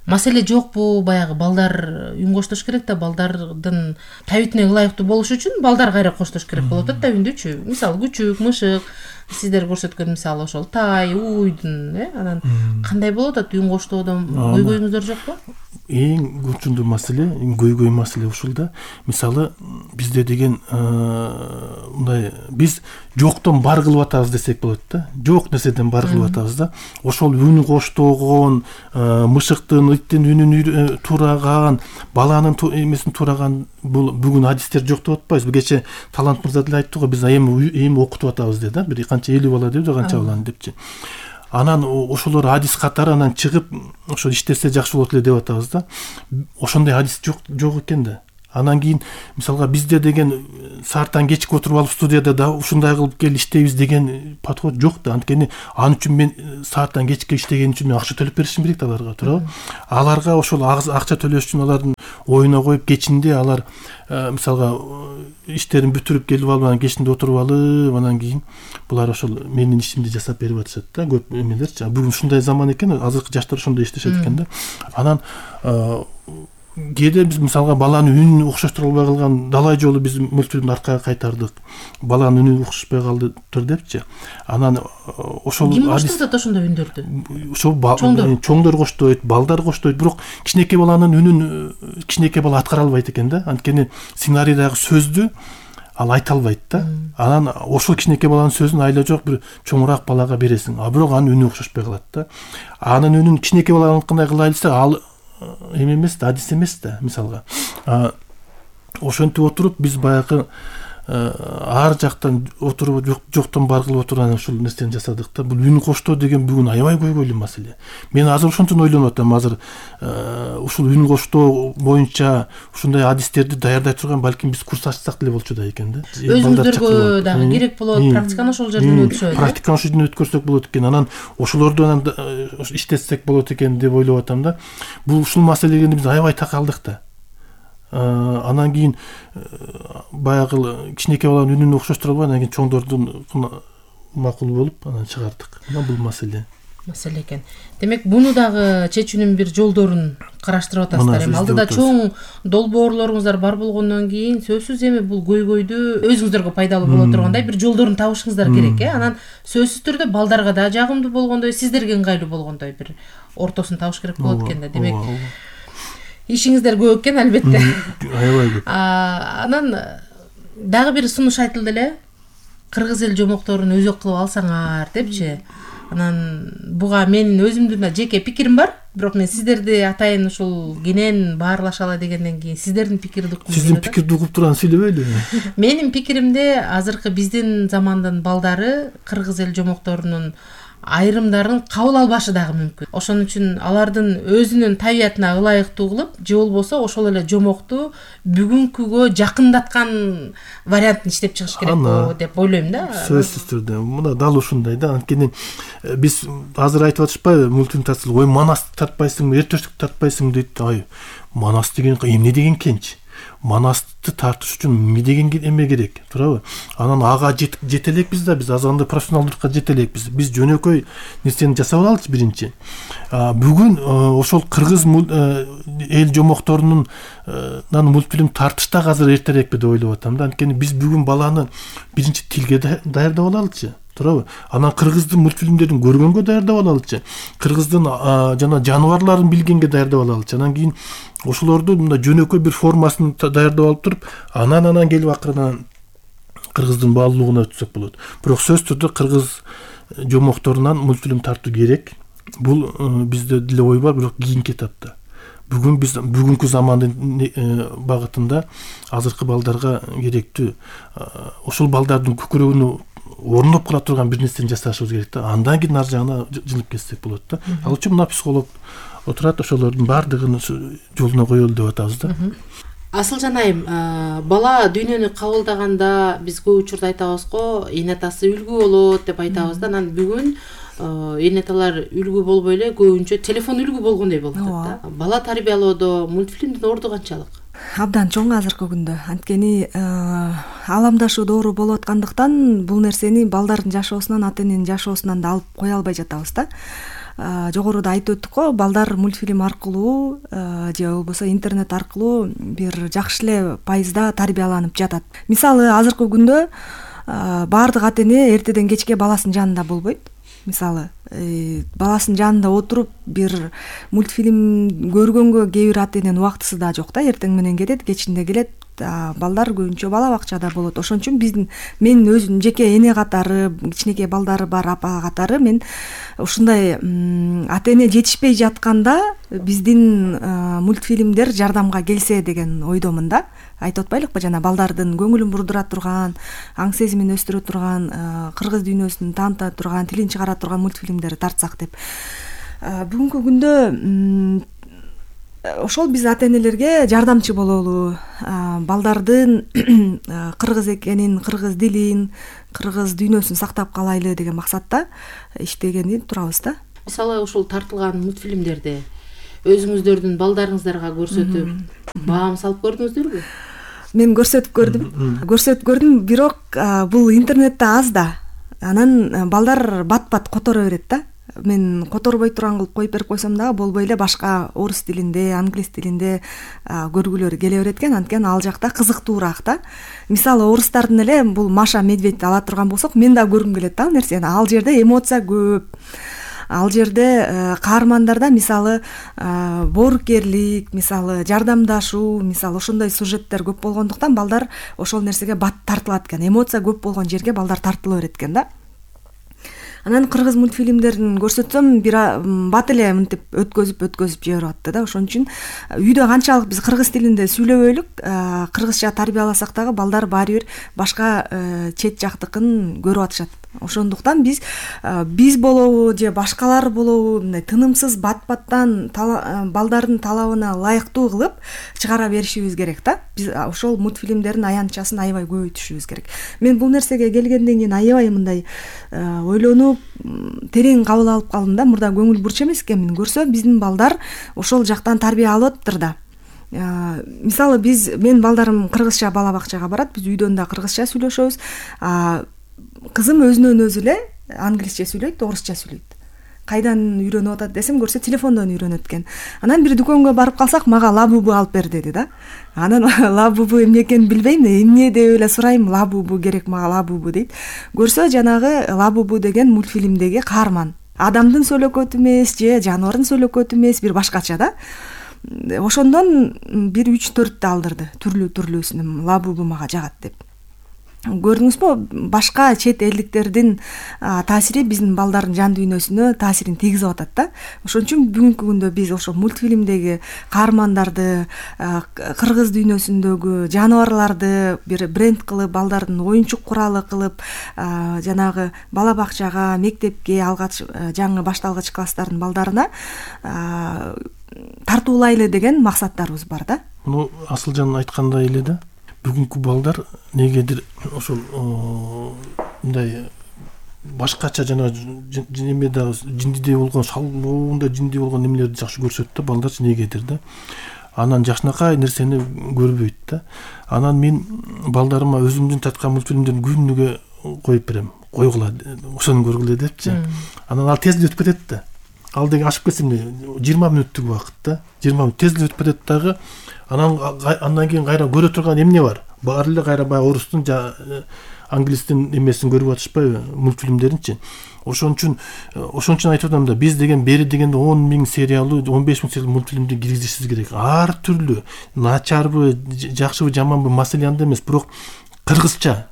Маселе жокпу? Баягы балдар үн коштош керек да, балдардын табитине ылайыктуу болуш үчүн балдар кайра коштош керек болуп атат да үндүчү. Мисалы күчүк, мышык, сиздер көрсөткөн мисалы ошол тай уйдун анан кандай болуп атат үн коштоодон көйгөйүңүздөр жокпу? Эң күчүндүү маселе, көйгөй маселе ушул да. Мисалы бизде деген мындай биз жоктон бар кылып атабыз десек болот да. Жок нерседен бар кылып атабыз да. Ошол үн коштогон, мышыктын, иттин үнүн тураган, баланын эмесин тураган бул бүгүн адистер жок деп атпайбыз. Кече Талант мырза деле айтты го, биз эми окутуп атабыз деп да. Бир канча 50 бала деп, канча баланы депчи. Анан ошолор адис катары анан чыгып ошо иштесе жакшы болот эле деп атабыз да. Ошондой адис жок экен да. Анан кийин мисалга бизде деген сааттан кечке отуруп алып студияда да ушундай кылып кел иштейбиз деген подход жок да. Анткени ал үчүн мен сааттан кечке иштеген үчүн мен акча төлөп беришим керек да аларга, туурабы? Аларга ошол акча төлөш үчүн алардын оюна коюп кечинде алар мисалга иштерин бүтүрүп келип алып анан кечинде отуруп алып анан кийин булар ошол менин ишимди жасап берип атышат да. Көп эмелерчи. Бүгүн ушундай заман экен, азыркы жаштар ошондой иштешет экен да. Анан кээде биз мисалга баланы үнүн окшоштура албай калган далай жолу биз мультфильмди аркага кайтардык. Баланын үнү окшошпой калдыптыр депчи. Анан ошол ким коштоп ошондой үндөрдү? Ошол чоңдор коштойт, балдар коштойт, бирок кичинекей баланын үнүн кичинекей бала аткара албайт экен да. Анткени сценарийдагы сөздү ал айта албайт да. Анан ошол кичинекей баланын сөзүн айла жок бир чоңураак балага бересиң. Бирок анын үнү окшошпой калат да. Анын үнүн кичинекей баланыкындай кылайлы десе ал эме эмес да, адис эмес да мисалга. Ошентип отуруп биз баягы ар жактан отуруп жоктон бар кылып отурган ушул нерсени жасадык да. Бул үн коштоо деген бүгүн аябай көйгөйлүү маселе. Мен азыр ошонтон ойлонуп атам. Азыр ушул үн коштоо боюнча ушундай адистерди даярдай турган балким биз курс ачсак деле болчу да экен да. Өзүңүздөргө дагы керек болот, практиканы ошол жерден өткөрсөк. Практиканы ошол жерден өткөрсөк болот экен. Анан ошолорду анан иштетсек болот экен деп ойлоп атам да. Бул ушул маселеге биз аябай такалдык да. Анан кийин баягы кичинекей баланын үнүн окшоштура албай, анан кийин чоңдордун макул болуп анан чыгардык. Мына бул маселе экен. Демек, буну дагы чечүүнүн бир жолдорун караштырып атасыздар. Эми алдыда чоң долбоорлоруңуздар бар болгондон кийин сөзсүз эми бул көйгөйдү өзүңүздөргө пайдалуу боло тургандай бир жолдорун табышыңыздар керек, Анан сөзсүз түрдө балдарга да жагымдуу болгондой, сиздерге ыңгайлуу болгондой бир ортосун табыш керек болот экен да. Демек, ишиңиздер көп экен албетте. Аябай көп. Анан дагы бир сунуш айтылды эле. Кыргыз эл жомокторун өзөк кылып алсаңар депчи. Анан буга менин өзүмдүн жеке пикирим бар, бирок мен сиздерди атайын ушул кенен баарлашалы дегенден кийин сиздердин пикирди угум. Сиздин пикирди угуп турган сүйлөбөйлү. Менин пикиримде азыркы биздин замандын балдары кыргыз эл жомокторунун айрымдарын кабыл албашы дагы мүмкүн. Ошон үчүн алардын өзүнүн табиятына ылайыктуу кылып, же болбосо ошол эле жомокту бүгүнкүгө жакындаткан вариантын иштеп чыгыш керек деп ойлойм да. Сөзсүз түрдө. Мына дал ушундай да. Анткени биз азыр айтып атышпайбы, мультфильм тартсак, ой Манасты тартпайсыңбы, Эртөштүктү тартпайсыңбы дейт. Ай, Манас деген эмне деген кенч? Манасты тартыш үчүн эмне деген эме керек, туурабы? Анан ага жете элекпиз да, биз азгандай профессионалдыкка жете элекпиз. Биз жөнөкөй нерсени жасап алалычы биринчи. Бүгүн ошол кыргыз эл жомокторунун мультфильм тартыштак азыр эртерээкпи деп ойлоп атам да. Анткени биз бүгүн баланы биринчи тилге даярдап алалычы, туурабы? Анан кыргыздын мультфильмдерин көргөнгө даярдап алалычы. Кыргыздын жана жаныбарларын билгенге даярдап алалычы. Анан кийин ошолорду мындай жөнөкөй бир формасын даярдап алып туруп, анан келип акырын кыргыздын баалуулугуна өтсөк болот. Бирок сөзсүз түрдө кыргыз жомокторунан мультфильм тартуу керек. Бул бизде деле ой бар, бирок кийинки этапта. Бүгүн биз бүгүнкү замандын багытында азыркы балдарга керектүү ошол балдардын көкүрөгүнө орноп кала турган бир нерсени жасашыбыз керек да. Андан кийин ар жагына жылып кетсек болот да. Ал үчүн мына психолог отурат, ошолордун баардыгын жолуна коелу деп атабыз да. Асылжан айым, бала дүйнөнү кабылдаганда биз көп учурда айтабыз го, эне атасы үлгү болот деп атабыз да. Анан бүгүн эне аталар үлгү болбой эле көбүнчө телефон үлгү болгондой болуп атат да. Бала тарбиялоодо мультфильмдин орду канчалык? Абдан чоң азыркы күндө. Анткени ааламдашуу доору болуп аткандыктан бул нерсени балдардын жашоосунан, ата эненин жашоосунан да алып кое албай жатабыз да. Жогоруда айтып өттүк го, балдар мультфильм аркылуу же болбосо интернет аркылуу бир жакшы эле пайызда тарбияланып жатат. Мисалы азыркы күндө баардык ата эне эртеден кечке баласынын жанында болбойт. Мисалы баласынын жанында отуруп бир мультфильм көргөнгө кээ бир ата эненин убактысы да жок да. Эртең менен кетет, кечинде келет. Балдар көбүнчө бала бакчада болот. Ошон үчүн мен өзүм жеке эне катары, кичинекей балдары бар апа катары мен ушундай ата эне жетишпей жатканда биздин мультфильмдер жардамга келсе деген ойдомун да. Айтып атпайлыкпы, жана балдардын көңүлүн бурдура турган, аң сезимин өстүрө турган, кыргыз дүйнөсүн тааныта турган, тилин чыгара турган мультфильмдерди тартсак деп. Бүгүнкү күндө ошол биз ата энелерге жардамчы бололу, балдардын кыргыз экенин, кыргыз дилин, кыргыз дүйнөсүн сактап калайлы деген максатта иштегени турабыз да. Мисалы ушул тартылган мультфильмдерди өзүңүздөрдүн балдарыңыздарга көрсөтүп баам салып көрдүңүздөрбү? Мен көрсөтүп көрдүм, бирок бул интернетте аз да. Анан балдар бат-бат которо берет да. Мен которбой турган кылып коюп берип койсом дагы болбой эле башка орус тилинде, англис тилинде көргүлөрү келе берет экен. Анткени ал жакта кызыктуураак да. Мисалы орустардын эле бул Маша Медведь ала турган болсок, мен да көргүм келет да ал нерсени. Ал жерде эмоция көп. Ал жерде каармандарда мисалы боорукерлик, мисалы жардамдашуу, мисалы ошондой сюжеттер көп болгондуктан балдар ошол нерсеге бат тартылат экен. Эмоция көп болгон жерге балдар тартыла берет экен да. Анан кыргыз мультфильмдерин көрсөтсөм бат эле мынтип өткөзүп жиберип атты да. Ошон үчүн үйдө канчалык биз кыргыз тилинде сүйлөбөйлүк, кыргызча тарбияласак дагы балдар баары бир башка чет жактыкын көрүп атышат. Ошондуктан биз болобу же башкалар болобу мындай тынымсыз бат-баттан балдардын талабына ылайыктуу кылып чыгара беришибиз керек да. Биз ошол мультфильмдердин аянтчасын аябай көбөйтүшүбүз керек. Мен бул нерсеге келгенден кийин аябай мындай ойлонуп, терең кабыл алып калдым да. Мурда көңүл бурч эмес экенмин. Көрсө биздин балдар ошол жактан тарбия алып атыптыр да. Мисалы мен балдарым кыргызча бала бакчага барат, биз үйдөн да кыргызча сүйлөшөбүз. Кызым өзүнөн өзү эле англисче сүйлөйт, орусча сүйлөйт. Кайдан үйрөнүп атат десем, көрсө телефондон үйрөнөт экен. Анан бир дүкөнгө барып калсак, мага лабубу алып бер деди да. Анан лабубу эмне экенин билбейм, эмне деп эле сурайм, лабубу керек мага, лабубу дейт. Көрсө жанагы лабубу деген мультфильмдеги каарман. Адамдын сөөлөкөтү эмес же жаныбардын сөөлөкөтү эмес, бир башкача да. Ошондон бир 3-4 алдырды. Түрлүүсүн лабубу мага жагат деп. Көрдүңүзбү, башка чет элдиктердин таасири биздин балдардын жан дүйнөсүнө таасирин тийгизип атат да. Ошон үчүн бүгүнкү күндө биз ошо мультфильмдеги каармандарды, кыргыз дүйнөсүндөгү жаныбарларды бир бренд кылып, балдардын оюнчук куралы кылып, жанагы бала бакчага, мектепке, алгач жаңы башталгыч класстардын балдарына тартуулайлы деген максаттарыбыз бар да. Муну Асылжан айткандай эле да. Бүгүнкү балдар негедир ошол мындай башкача жана неме дагы жиндидей болгон шалбоонда жиндидей болгон немелерди жакшы көрсөт да, балдарчы негедир да. Анан жакшынакай нерсени көрбөйт да. Анан мен балдарыма өзүмдүн тарткан мультфильмдерди күнүгө коюп берем. Койгула, ошону көргүлө депчи. Анан ал тез өтүп кетет да. Ал деген ашып кетсем 20 мүнөттүк убакыт да. 20 мүнөт тез өтүп кетет дагы. Андан кийин кайра көрө турган эмне бар? Баары эле кайра баягы орустун англистин эмесин көрүп атышпайбы, мультфильмдеринчи. Ошон үчүн айтып атам да, биз деген бери дегенде 10 000 сериялуу, 15 000 сериялуу мультфильмди киргизишибиз керек. Ар түрлүү, начарбы, жакшыбы, жаманбы маселе анда эмес, бирок кыргызча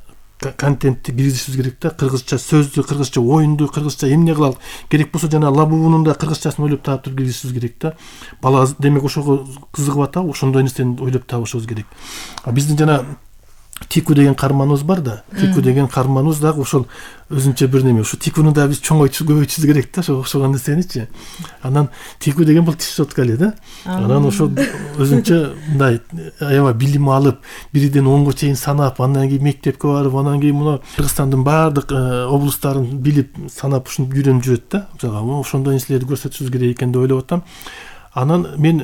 контентти киргизишибиз керек да. Кыргызча сөздү, кыргызча оюнду, кыргызча эмне кылалы. Керек болсо жана лабубунун да кыргызчасын ойлоп таап туруп киргизишибиз керек да. Бала демек ошого кызыгып атабы, ошондой нерсени ойлоп табышыбыз керек. Биздин жана Тику деген каарманыбыз бар да. Тику деген каарманыбыз дагы ошол өзүнчө бир неме. Ошо Тикуну да биз чоңойтуп көбөйтүшүбүз керек да, ошого нерсеничи. Анан Тику деген бул тиш щетка эле да. Анан ошол өзүнчө мындай аябай билим алып, 1ден 10га чейин санап, андан кийин мектепке барып, андан кийин мына Кыргызстандын баардык облустарын билип, санап ушинтип үйрөнүп жүрөт да. Ошондой нерселерди көрсөтүшүбүз керек экен деп ойлоп атам. Анан мен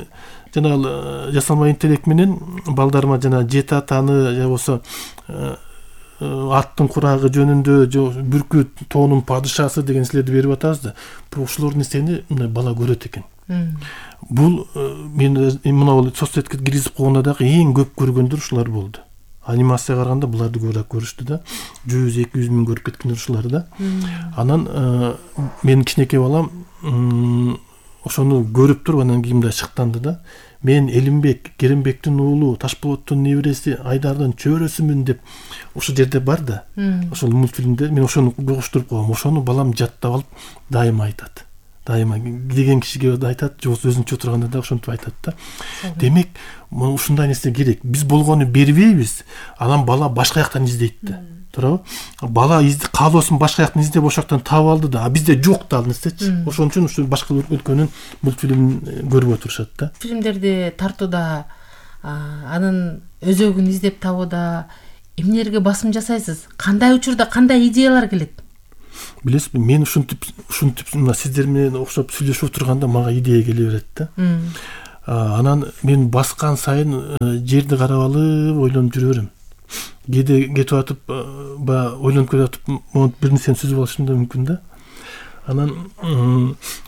жана жасалма интеллект менен балдарыма жана жети атаны же болсо аттын курагы жөнүндө, же бүркүт тоонун падышасы деген нерселерди берип атабыз да. Ушулор нерсени мына бала көрөт экен. Бул мен мына соцсетке киргизип койгондо дагы эң көп көргөндөр ушулар болду. анимацияга караганда буларды көбүрөөк көрүштү да. 100-200 миң көрүп кеткен ушулар да. Анан менин кичинекей балам ошону көрүп туруп анан кийин мындай шыктанды да. Мен Элимбек, Керимбектин уулу, Ташполоттун небереси, Айдардын чөбөрөсүмүн деп ошол жерде бар да. Ошол мультфильмде мен ошону угуштуруп койгом. Ошону балам жаттап алып дайыма айтат. Дайыма кирген кишиге да айтат, же өзүнчө отурганда да ошентип айтат да. Демек, ушундай нерсе керек. Биз болгону бербейбиз, анан бала башка жактан издейт да. Туурабы? Бала каалоосун башка жактан издеп ошол жактан таап алды да. А бизде жок да ал нерсечи. Ошон үчүн ушу башка өлкөнүн мультфильмин көрүп отурушат да. Фильмдерди тартууда анын өзөгүн издеп табууда эмнелерге басым жасайсыз? Кандай учурда кандай идеялар келет? Билесизби, мен ушинтип мына сиздер менен окшоп сүйлөшүп отурганда мага идея келе берет да. Анан мен баскан сайын жерди карап алып ойлонуп жүрө берем. Кээде кетип атып, ойлонуп кетип атып, бир нерсени сүзүп алышым да мүмкүн да. Анан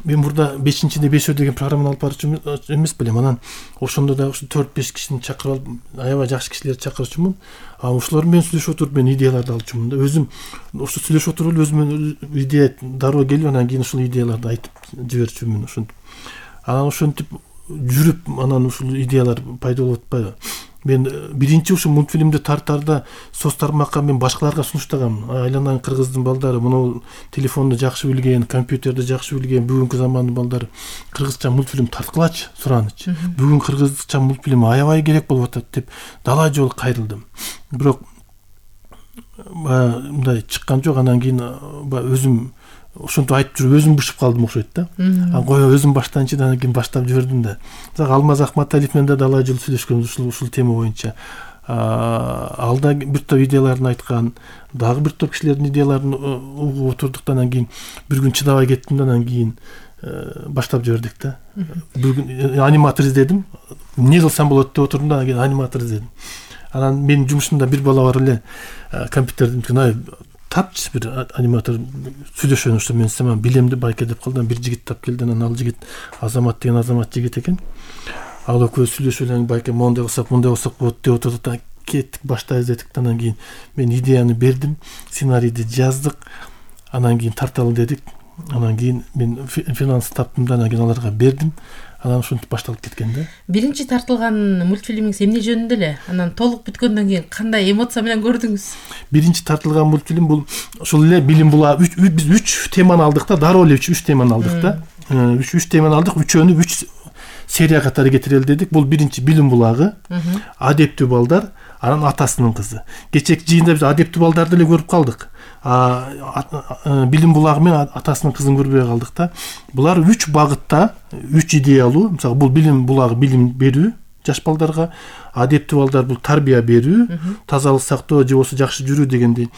мен мурда 5-чиде 5 деген программаны алып барчу эмес белем. Анан ошондо да ушу 4-5 кишини чакырып алып, аябай жакшы кишилерди чакырчумун. Ошолор менен сүйлөшүп отуруп мен идеяларды алчумун да. Өзүм ошо сүйлөшүп отуруп эле өзүмө идея дароо келип, анан кийин ушул идеяларды айтып жиберчүмүн ошентип. Анан ошентип жүрүп, анан ушул идеялар пайда болуп атпайбы. Мен биринчи ушу мультфильмди тартарда соц тармакка мен башкаларга сунуштагам. Айланайын кыргыздын балдары, мына телефонду жакшы билген, компьютерди жакшы билген бүгүнкү замандын балдары кыргызча мультфильм тарткылачы, суранычы. Бүгүн кыргызча мультфильм аябай керек болуп атат деп далаа жолу кайрылдым. Бирок мындай чыккан жок. Анан кийин өзүм ошентип айтып жүрүп өзүм бышып калдым окшойт да. Кой өзүм баштайынчы, анан кийин баштап жибердим да. Алмаз Акматалиев менен да далаа жолу сүйлөшкөнбүз ушул тема боюнча. Алда бир топ идеяларын айткан, дагы бир топ кишилердин идеяларын угуп отурдук да. Анан кийин бир күн чыдабай кеттим да, анан кийин баштап жибердик да. Бүгүн аниматор издедим. Эмне кылсам болот деп отурдум да, анан кийин аниматор издедим. Анан менин жумушумда бир бала бар эле, компьютердин тапчы бир аниматор сүйлөшөн ошо мен сама билемди байке деп калды. Бир жигит тап келди, анан ал жигит Азамат деген Азамат жигит экен. Ал экөө сүйлөшүп эле байке мондай кылсак болот деп отурдук да. Кеттик, баштай издедик. Анан кийин мен идеяны бердим, сценарийди жаздык. Анан кийин тарталы дедик. Анан кийин мен финанс таптым да, анан кийин аларга бердим. Анан ушинтип башталып кеткен да. Биринчи тартылган мультфильмиңиз эмне жөнүндө эле? Анан толук бүткөндөн кийин кандай эмоция менен көрдүңүз? Биринчи тартылган мультфильм бул ошол эле билим булагы. Биз 3 теманы алдык да, дароо эле 3 теманы алдык да. 3 теманы алдык, үчөөнү 3 серия катары кетирели дедик. Бул биринчи билим булагы, адептүү балдар, анан атасынын кызы. Кечээки жыйында биз адептүү балдарды эле көрүп калдык. Билим булагы менен атасынын кызын көрбөй калдык да. Булар 3 багытта, 3 идеялуу. Мисалы, бул билим булагы билим берүү жаш балдарга, адептүү балдар бул тарбия берүү, тазалык сактоо же болбосо жакшы жүрүү дегендей.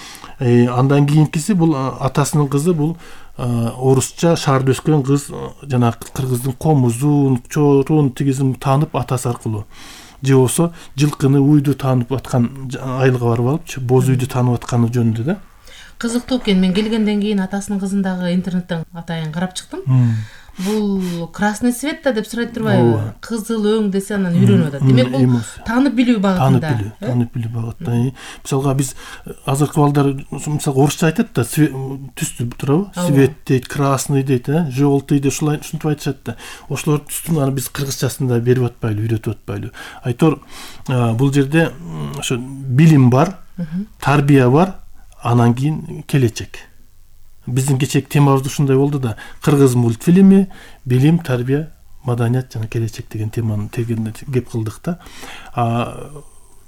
Андан кийинкиси бул атасынын кызы, бул орусча шаарда өскөн кыз, жана кыргыздын комузун, чорун, тигизин таанып атасы аркылуу. Же болбосо жылкыны, уйду таанып аткан айылга барып алып, боз үйдү таанып атканы жөнүндө да. Кызыктуу экен. Мен келгенден кийин атасынын кызын дагы интернеттен атайын карап чыктым. Бул красный цвет да деп сурайт турбайбы? Кызыл өң десе анан үйрөнүп атат. Демек бул таанып билүү багытында. Таанып билүү багытында. Мисалга биз азыркы балдар мисалга орусча айтат да, түстү турабы? Цвет дейт, красный дейт, желтый дейт, ушинтип айтышат да. Ошолор түстүн аны биз кыргызчасында берип атпайлы, үйрөтүп атпайлы. Айтор бул жерде ошо билим бар, тарбия бар, анан кийин келечек. Биздин кечээки темабыз ушундай болду да. Кыргыз мультфильми, билим, тарбия, маданият жана келечек деген теманы тегенде кеп кылдык да.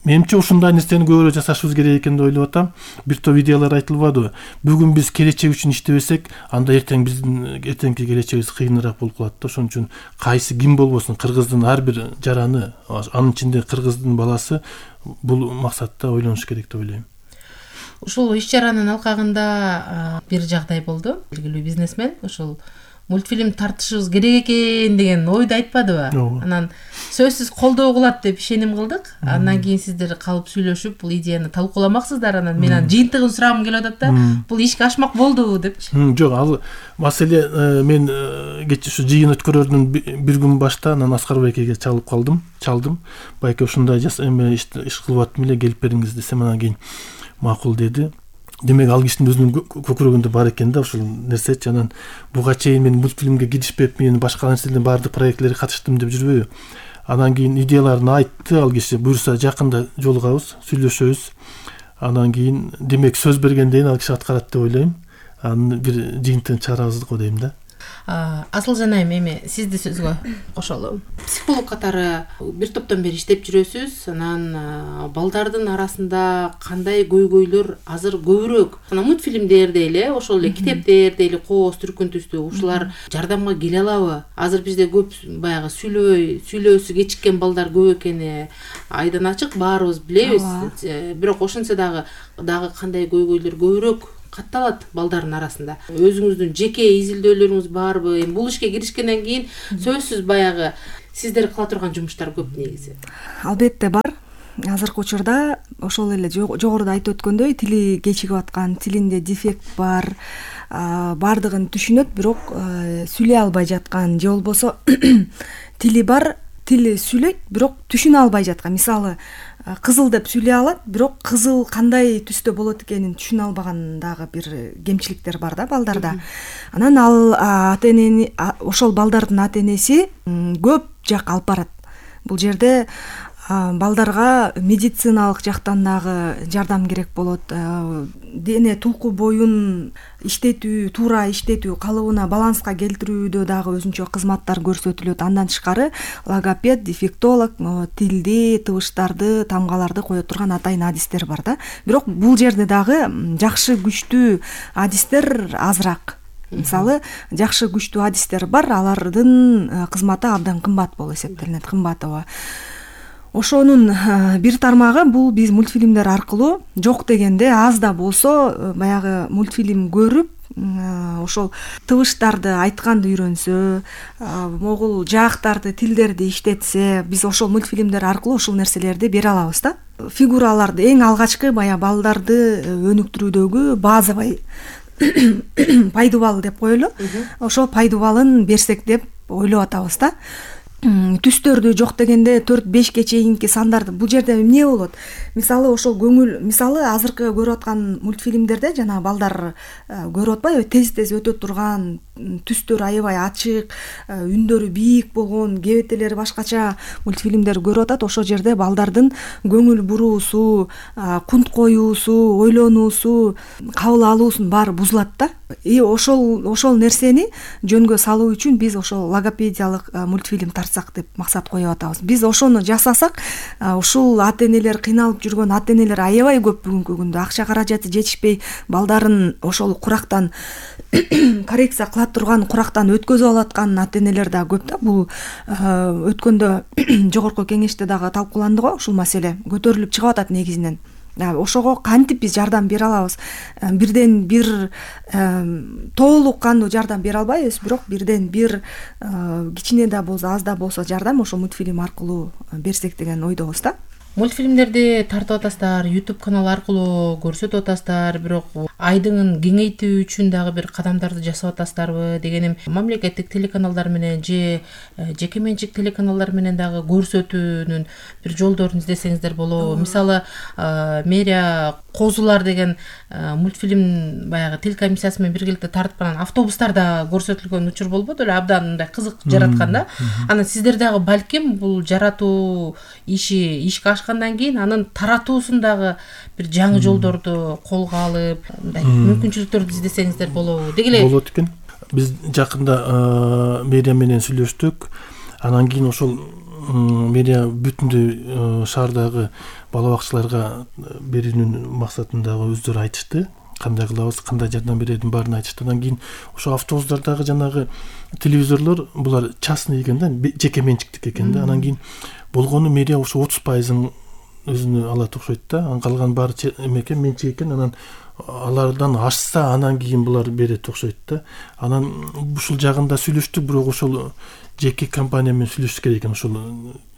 Менимче ушундай нерсени көбүрөөк жасашыбыз керек экен деп ойлоп атам. Бир топ идеялар айтылбадыбы? Бүгүн биз келечек үчүн иштебесек, анда биздин эртеңки келечегибиз кыйыныраак болуп калат да. Ошон үчүн кайсы ким болбосун, кыргыздын ар бир жараны, анын ичинде кыргыздын баласы бул максатта ойлонуш керек деп ойлойм. Ушул иш чаранын алкагында бир жагдай болду. Белгилүү бизнесмен ушул мультфильм тартышыбыз керек экен деген ойду айтпадыбы? Анан сөзсүз колдоо кылат деп ишеним кылдык. Андан кийин сиздер калып сүйлөшүп бул идеяны талкууламаксыздар. Анан мен анын жыйынтыгын сурагым келип атат да. Бул ишке ашмак болдубу депчи. Жок, ал маселе мен кечээ ушу жыйын өткөрөрдүн бир күн башта анан Аскар байкеге чалдым. Байке ушундай эме иш кылып аттым эле, келип бериңиз десем, анан кийин макул деди. Демек ал кишинин өзүнүн көкүрөгүндө бар экен да ушул нерсечи. Анан буга чейин мен мультфильмге киришпеп, мен башка нерселердин баардык проектлерге катыштым деп жүрбөйбү. Анан кийин идеяларын айтты ал киши. Буюрса жакында жолугабыз, сүйлөшөбүз. Анан кийин демек сөз бергенден ал киши аткарат деп ойлойм. Анын бир жыйынтыгын чыгарабыз го дейм да. Асылжан айым, эми сизди сөзгө кошолу. Психолог катары бир топтон бери иштеп жүрөсүз. Анан балдардын арасында кандай көйгөйлөр азыр көбүрөөк? Анан мультфильмдерде эле, ошол эле китептерде эле кооз түркүнтүстүү ушулар жардамга келе алабы? Азыр бизде көп баягы сүйлөөсү кечиккен балдар көп экени айдан ачык, баарыбыз билебиз. Бирок ошентсе дагы кандай көйгөйлөр көбүрөөк катталат балдардын арасында? Өзүңүздүн жеке изилдөөлөрүңүз барбы? Эми бул ишке киришкенден кийин сөзсүз баягы сиздер кыла турган жумуштар көп негизи. Албетте бар. Азыркы учурда ошол эле жогоруда айтып өткөндөй тили кечигип аткан, тилинде дефект бар, бардыгын түшүнөт, бирок сүйлөй албай жаткан, же болбосо тили бар, тили сүйлөйт, бирок түшүнө албай жаткан. Мисалы, кызыл деп сүйлөй алат, бирок кызыл кандай түстө болот экенин түшүнө албаган дагы бир кемчиликтер бар да балдарда. Анан ал ошол балдардын ата энеси көп жак алып барат. Бул жерде балдарга медициналык жактан дагы жардам керек болот. Дене тулку боюн иштетүү, туура иштетүү, калыбына баланска келтирүүдө дагы өзүнчө кызматтар көрсөтүлөт. Андан тышкары логопед, дефектолог тилди, табыштарды, тамгаларды кое турган атайын адистер бар да. Бирок бул жерде дагы жакшы күчтүү адистер азыраак. Мисалы, жакшы күчтүү адистер бар, алардын кызматы абдан кымбат болуп эсептелинет, кымбатова. Ошонун бир тармагы бул биз мультфильмдер аркылуу жок дегенде аз да болсо баягы мультфильм көрүп, ошол табыштарды айтканды үйрөнсө, могул жаактарды, тилдерди иштетсе, биз ошол мультфильмдер аркылуу ушул нерселерди бере алабыз да. Фигураларды эң алгачкы баягы балдарды өнүктүрүүдөгү базовый пайдубал деп коелу. Ошол пайдубалын берсек деп ойлоп атабыз да. Түстөрдү жок дегенде 4-5ке чейинки сандарды бул жерде эмне болот? Мисалы, ошол көңүл, мисалы азыркы көрүп аткан мультфильмдерде жана балдар көрүп атпайбы, тез өтө турган, түстөр аябай ачык, үндөрү бийик болгон, кебетелери башкача мультфильмдер көрүп атат. Ошол жерде балдардын көңүл буруусу, кунт коюусу, ойлонуусу, кабыл алуусунун баары бузулат да. Ошол нерсени жөнгө салуу үчүн биз ошол логопедиялык мультфильм тартсак деп максат коюп атабыз. Биз ошону жасасак, ушул ата-энелер, кыйналып жүргөн ата-энелер аябай көп бүгүнкү күндө акча каражаты жетишпей балдарын ошол курактан коррекция кыла турган курактан өткөзүп алаткан ата-энелер да көп да. Бул өткөндө жогорку кеңеште дагы талкууланды го, ушул маселе көтөрүлүп чыгып атат негизинен. Ошого кантип биз жардам бере алабыз? Бирден бир толук кандуу жардам бере албайбыз, бирок бирден бир кичине да болсо, аз да болсо жардам ошо мультфильм аркылуу берсек деген ойдобуз да. Мультфильмдерди тартып атасыздар, YouTube канал аркылуу көрсөтүп атасыздар, бирок айдыңын кеңейтүү үчүн дагы бир кадамдарды жасап атасыздарбы дегеним, мамлекеттик телеканалдар менен же жеке менчик телеканалдар менен дагы көрсөтүүнүн бир жолдорун издесеңиздер болобу? Мисалы, мэрия Козулар деген мультфильм баягы телекомиссиясы менен биргеликте тартып анан автобустарда көрсөтүлгөн учур болбоду эле, абдан мындай кызык жараткан да. Анан сиздер дагы балким бул жаратуу ишке ашкандан кийин анын таратуусун дагы бир жаңы жолдорду колго алып, мындай мүмкүнчүлүктөрдү издесеңиздер болобу? Деги эле болот экен. Биз жакында мэрия менен сүйлөштүк. Анан кийин ошол мэрия бүтүндөй шаардагы бала бакчаларга берүүнүн максатындагы өздөрү айтышты. Кандай кылабыз, кандай жардам берерин баарын айтышты. Андан кийин ошо автобустардагы жанагы телевизорлор булар частный экен да, жеке менчиктик экен да. Анан кийин болгону мэрия ошо 30%-ын өзүнө алат окшойт да. Анан калган баары эмекен, менчик экен. Анан алардан ашса анан кийин булар берет окшойт да. Анан ушул жагында сүйлөштүк, бирок ошол жеке компания менен сүйлөшүш керек экен, ошол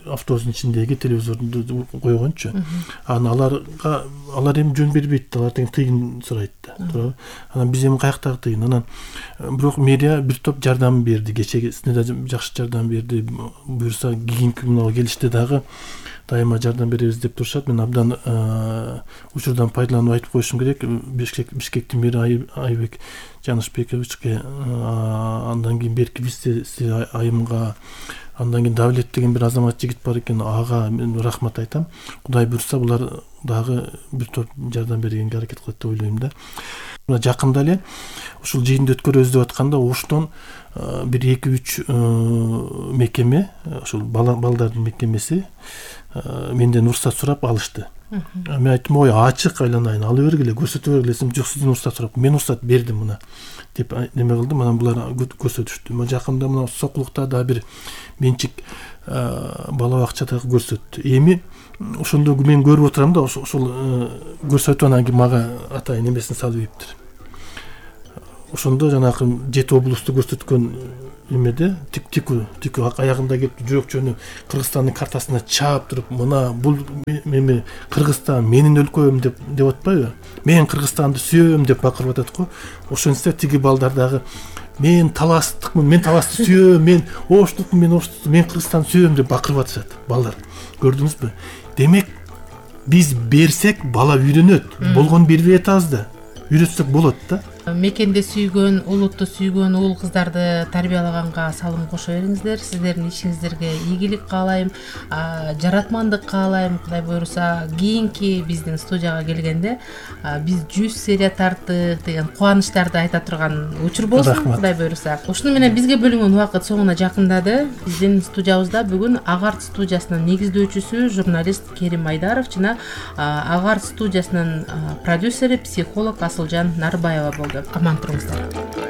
автобустун ичиндеги телевизорду койгончу. Анан алар эми жөн бербейт, алар тең тыйын сурайт да, туурабы? Анан биз эми каяктагы тыйын? Анан бирок мэрия бир топ жардам берди, кечесине да жакшы жардам берди. Буюрса кийинки күнү келиште дагы дайыма жардам беребиз деп турушат. Мен абдан учурдан пайдаланып айтып коюшум керек. Бишкектин мэри Айбек Жанышбековичке, андан кийин берки вице айымга, андан кийин Давлет деген бир азамат жигит бар экен, ага мен рахмат айтам. Кудай буйрса булар дагы бир топ жардам бергенге аракет кылат деп ойлойм да. Мына жакында эле ушул жыйынды өткөрөбүз деп атканда Оштон бир 2-3 мекеме, ушул балдардын мекемеси менден уруксат сурап алышты. Мен айттым, ой, ачык айланайын, алып бергиле, көрсөтө бергиле. Жок, сизден уруксат сурап, мен уруксат бердим мына деп неме кылдым. Анан булар көрсөтүштү. Мына жакында мына Сокулукта да бир менчик бала бакчада көрсөттү. Эми ошондо мен көрүп отурам да, ошол көрсөтүп анан кийин мага атайын эмесин салып ийиптир. Ошондо жанагы жети облусту көрсөткөн эмеде тику аягында келип жүрөк жөнү Кыргызстандын картасына чаап туруп, мына бул эми Кыргызстан менин өлкөм деп атпайбы? Мен Кыргызстанды сүйөм деп бакырып атат го. Ошентсе тиги балдар дагы мен таластыкмын, мен таласты сүйөм, мен Оштукмун, мен Кыргызстанды сүйөм деп бакырып атышат балдар. Көрдүңүзбү? Демек биз берсек бала үйрөнөт. Болгон бербей атабыз да. Үйрөтсөк болот да. Мекенде сүйгөн, улутту сүйгөн уул кыздарды тарбиялаганга салым кошо бериңиздер. Сиздердин ишиңиздерге ийгилик каалайм, жаратмандык каалайм. Кудай буйруса, кийинки биздин студияга келгенде биз 100 серия тарттык деген кубанычтарды айта турган учур болсун. Кудай буйруса. Ушуну менен бизге бөлүнгөн убакыт соңуна жакындады. Биздин студиябызда бүгүн Агарт студиясынын негиздөөчүсү журналист Керим Айдаров жана Агарт студиясынын продюсери, психолог Асылжан Нарбаева болду. Аман туруңуздар.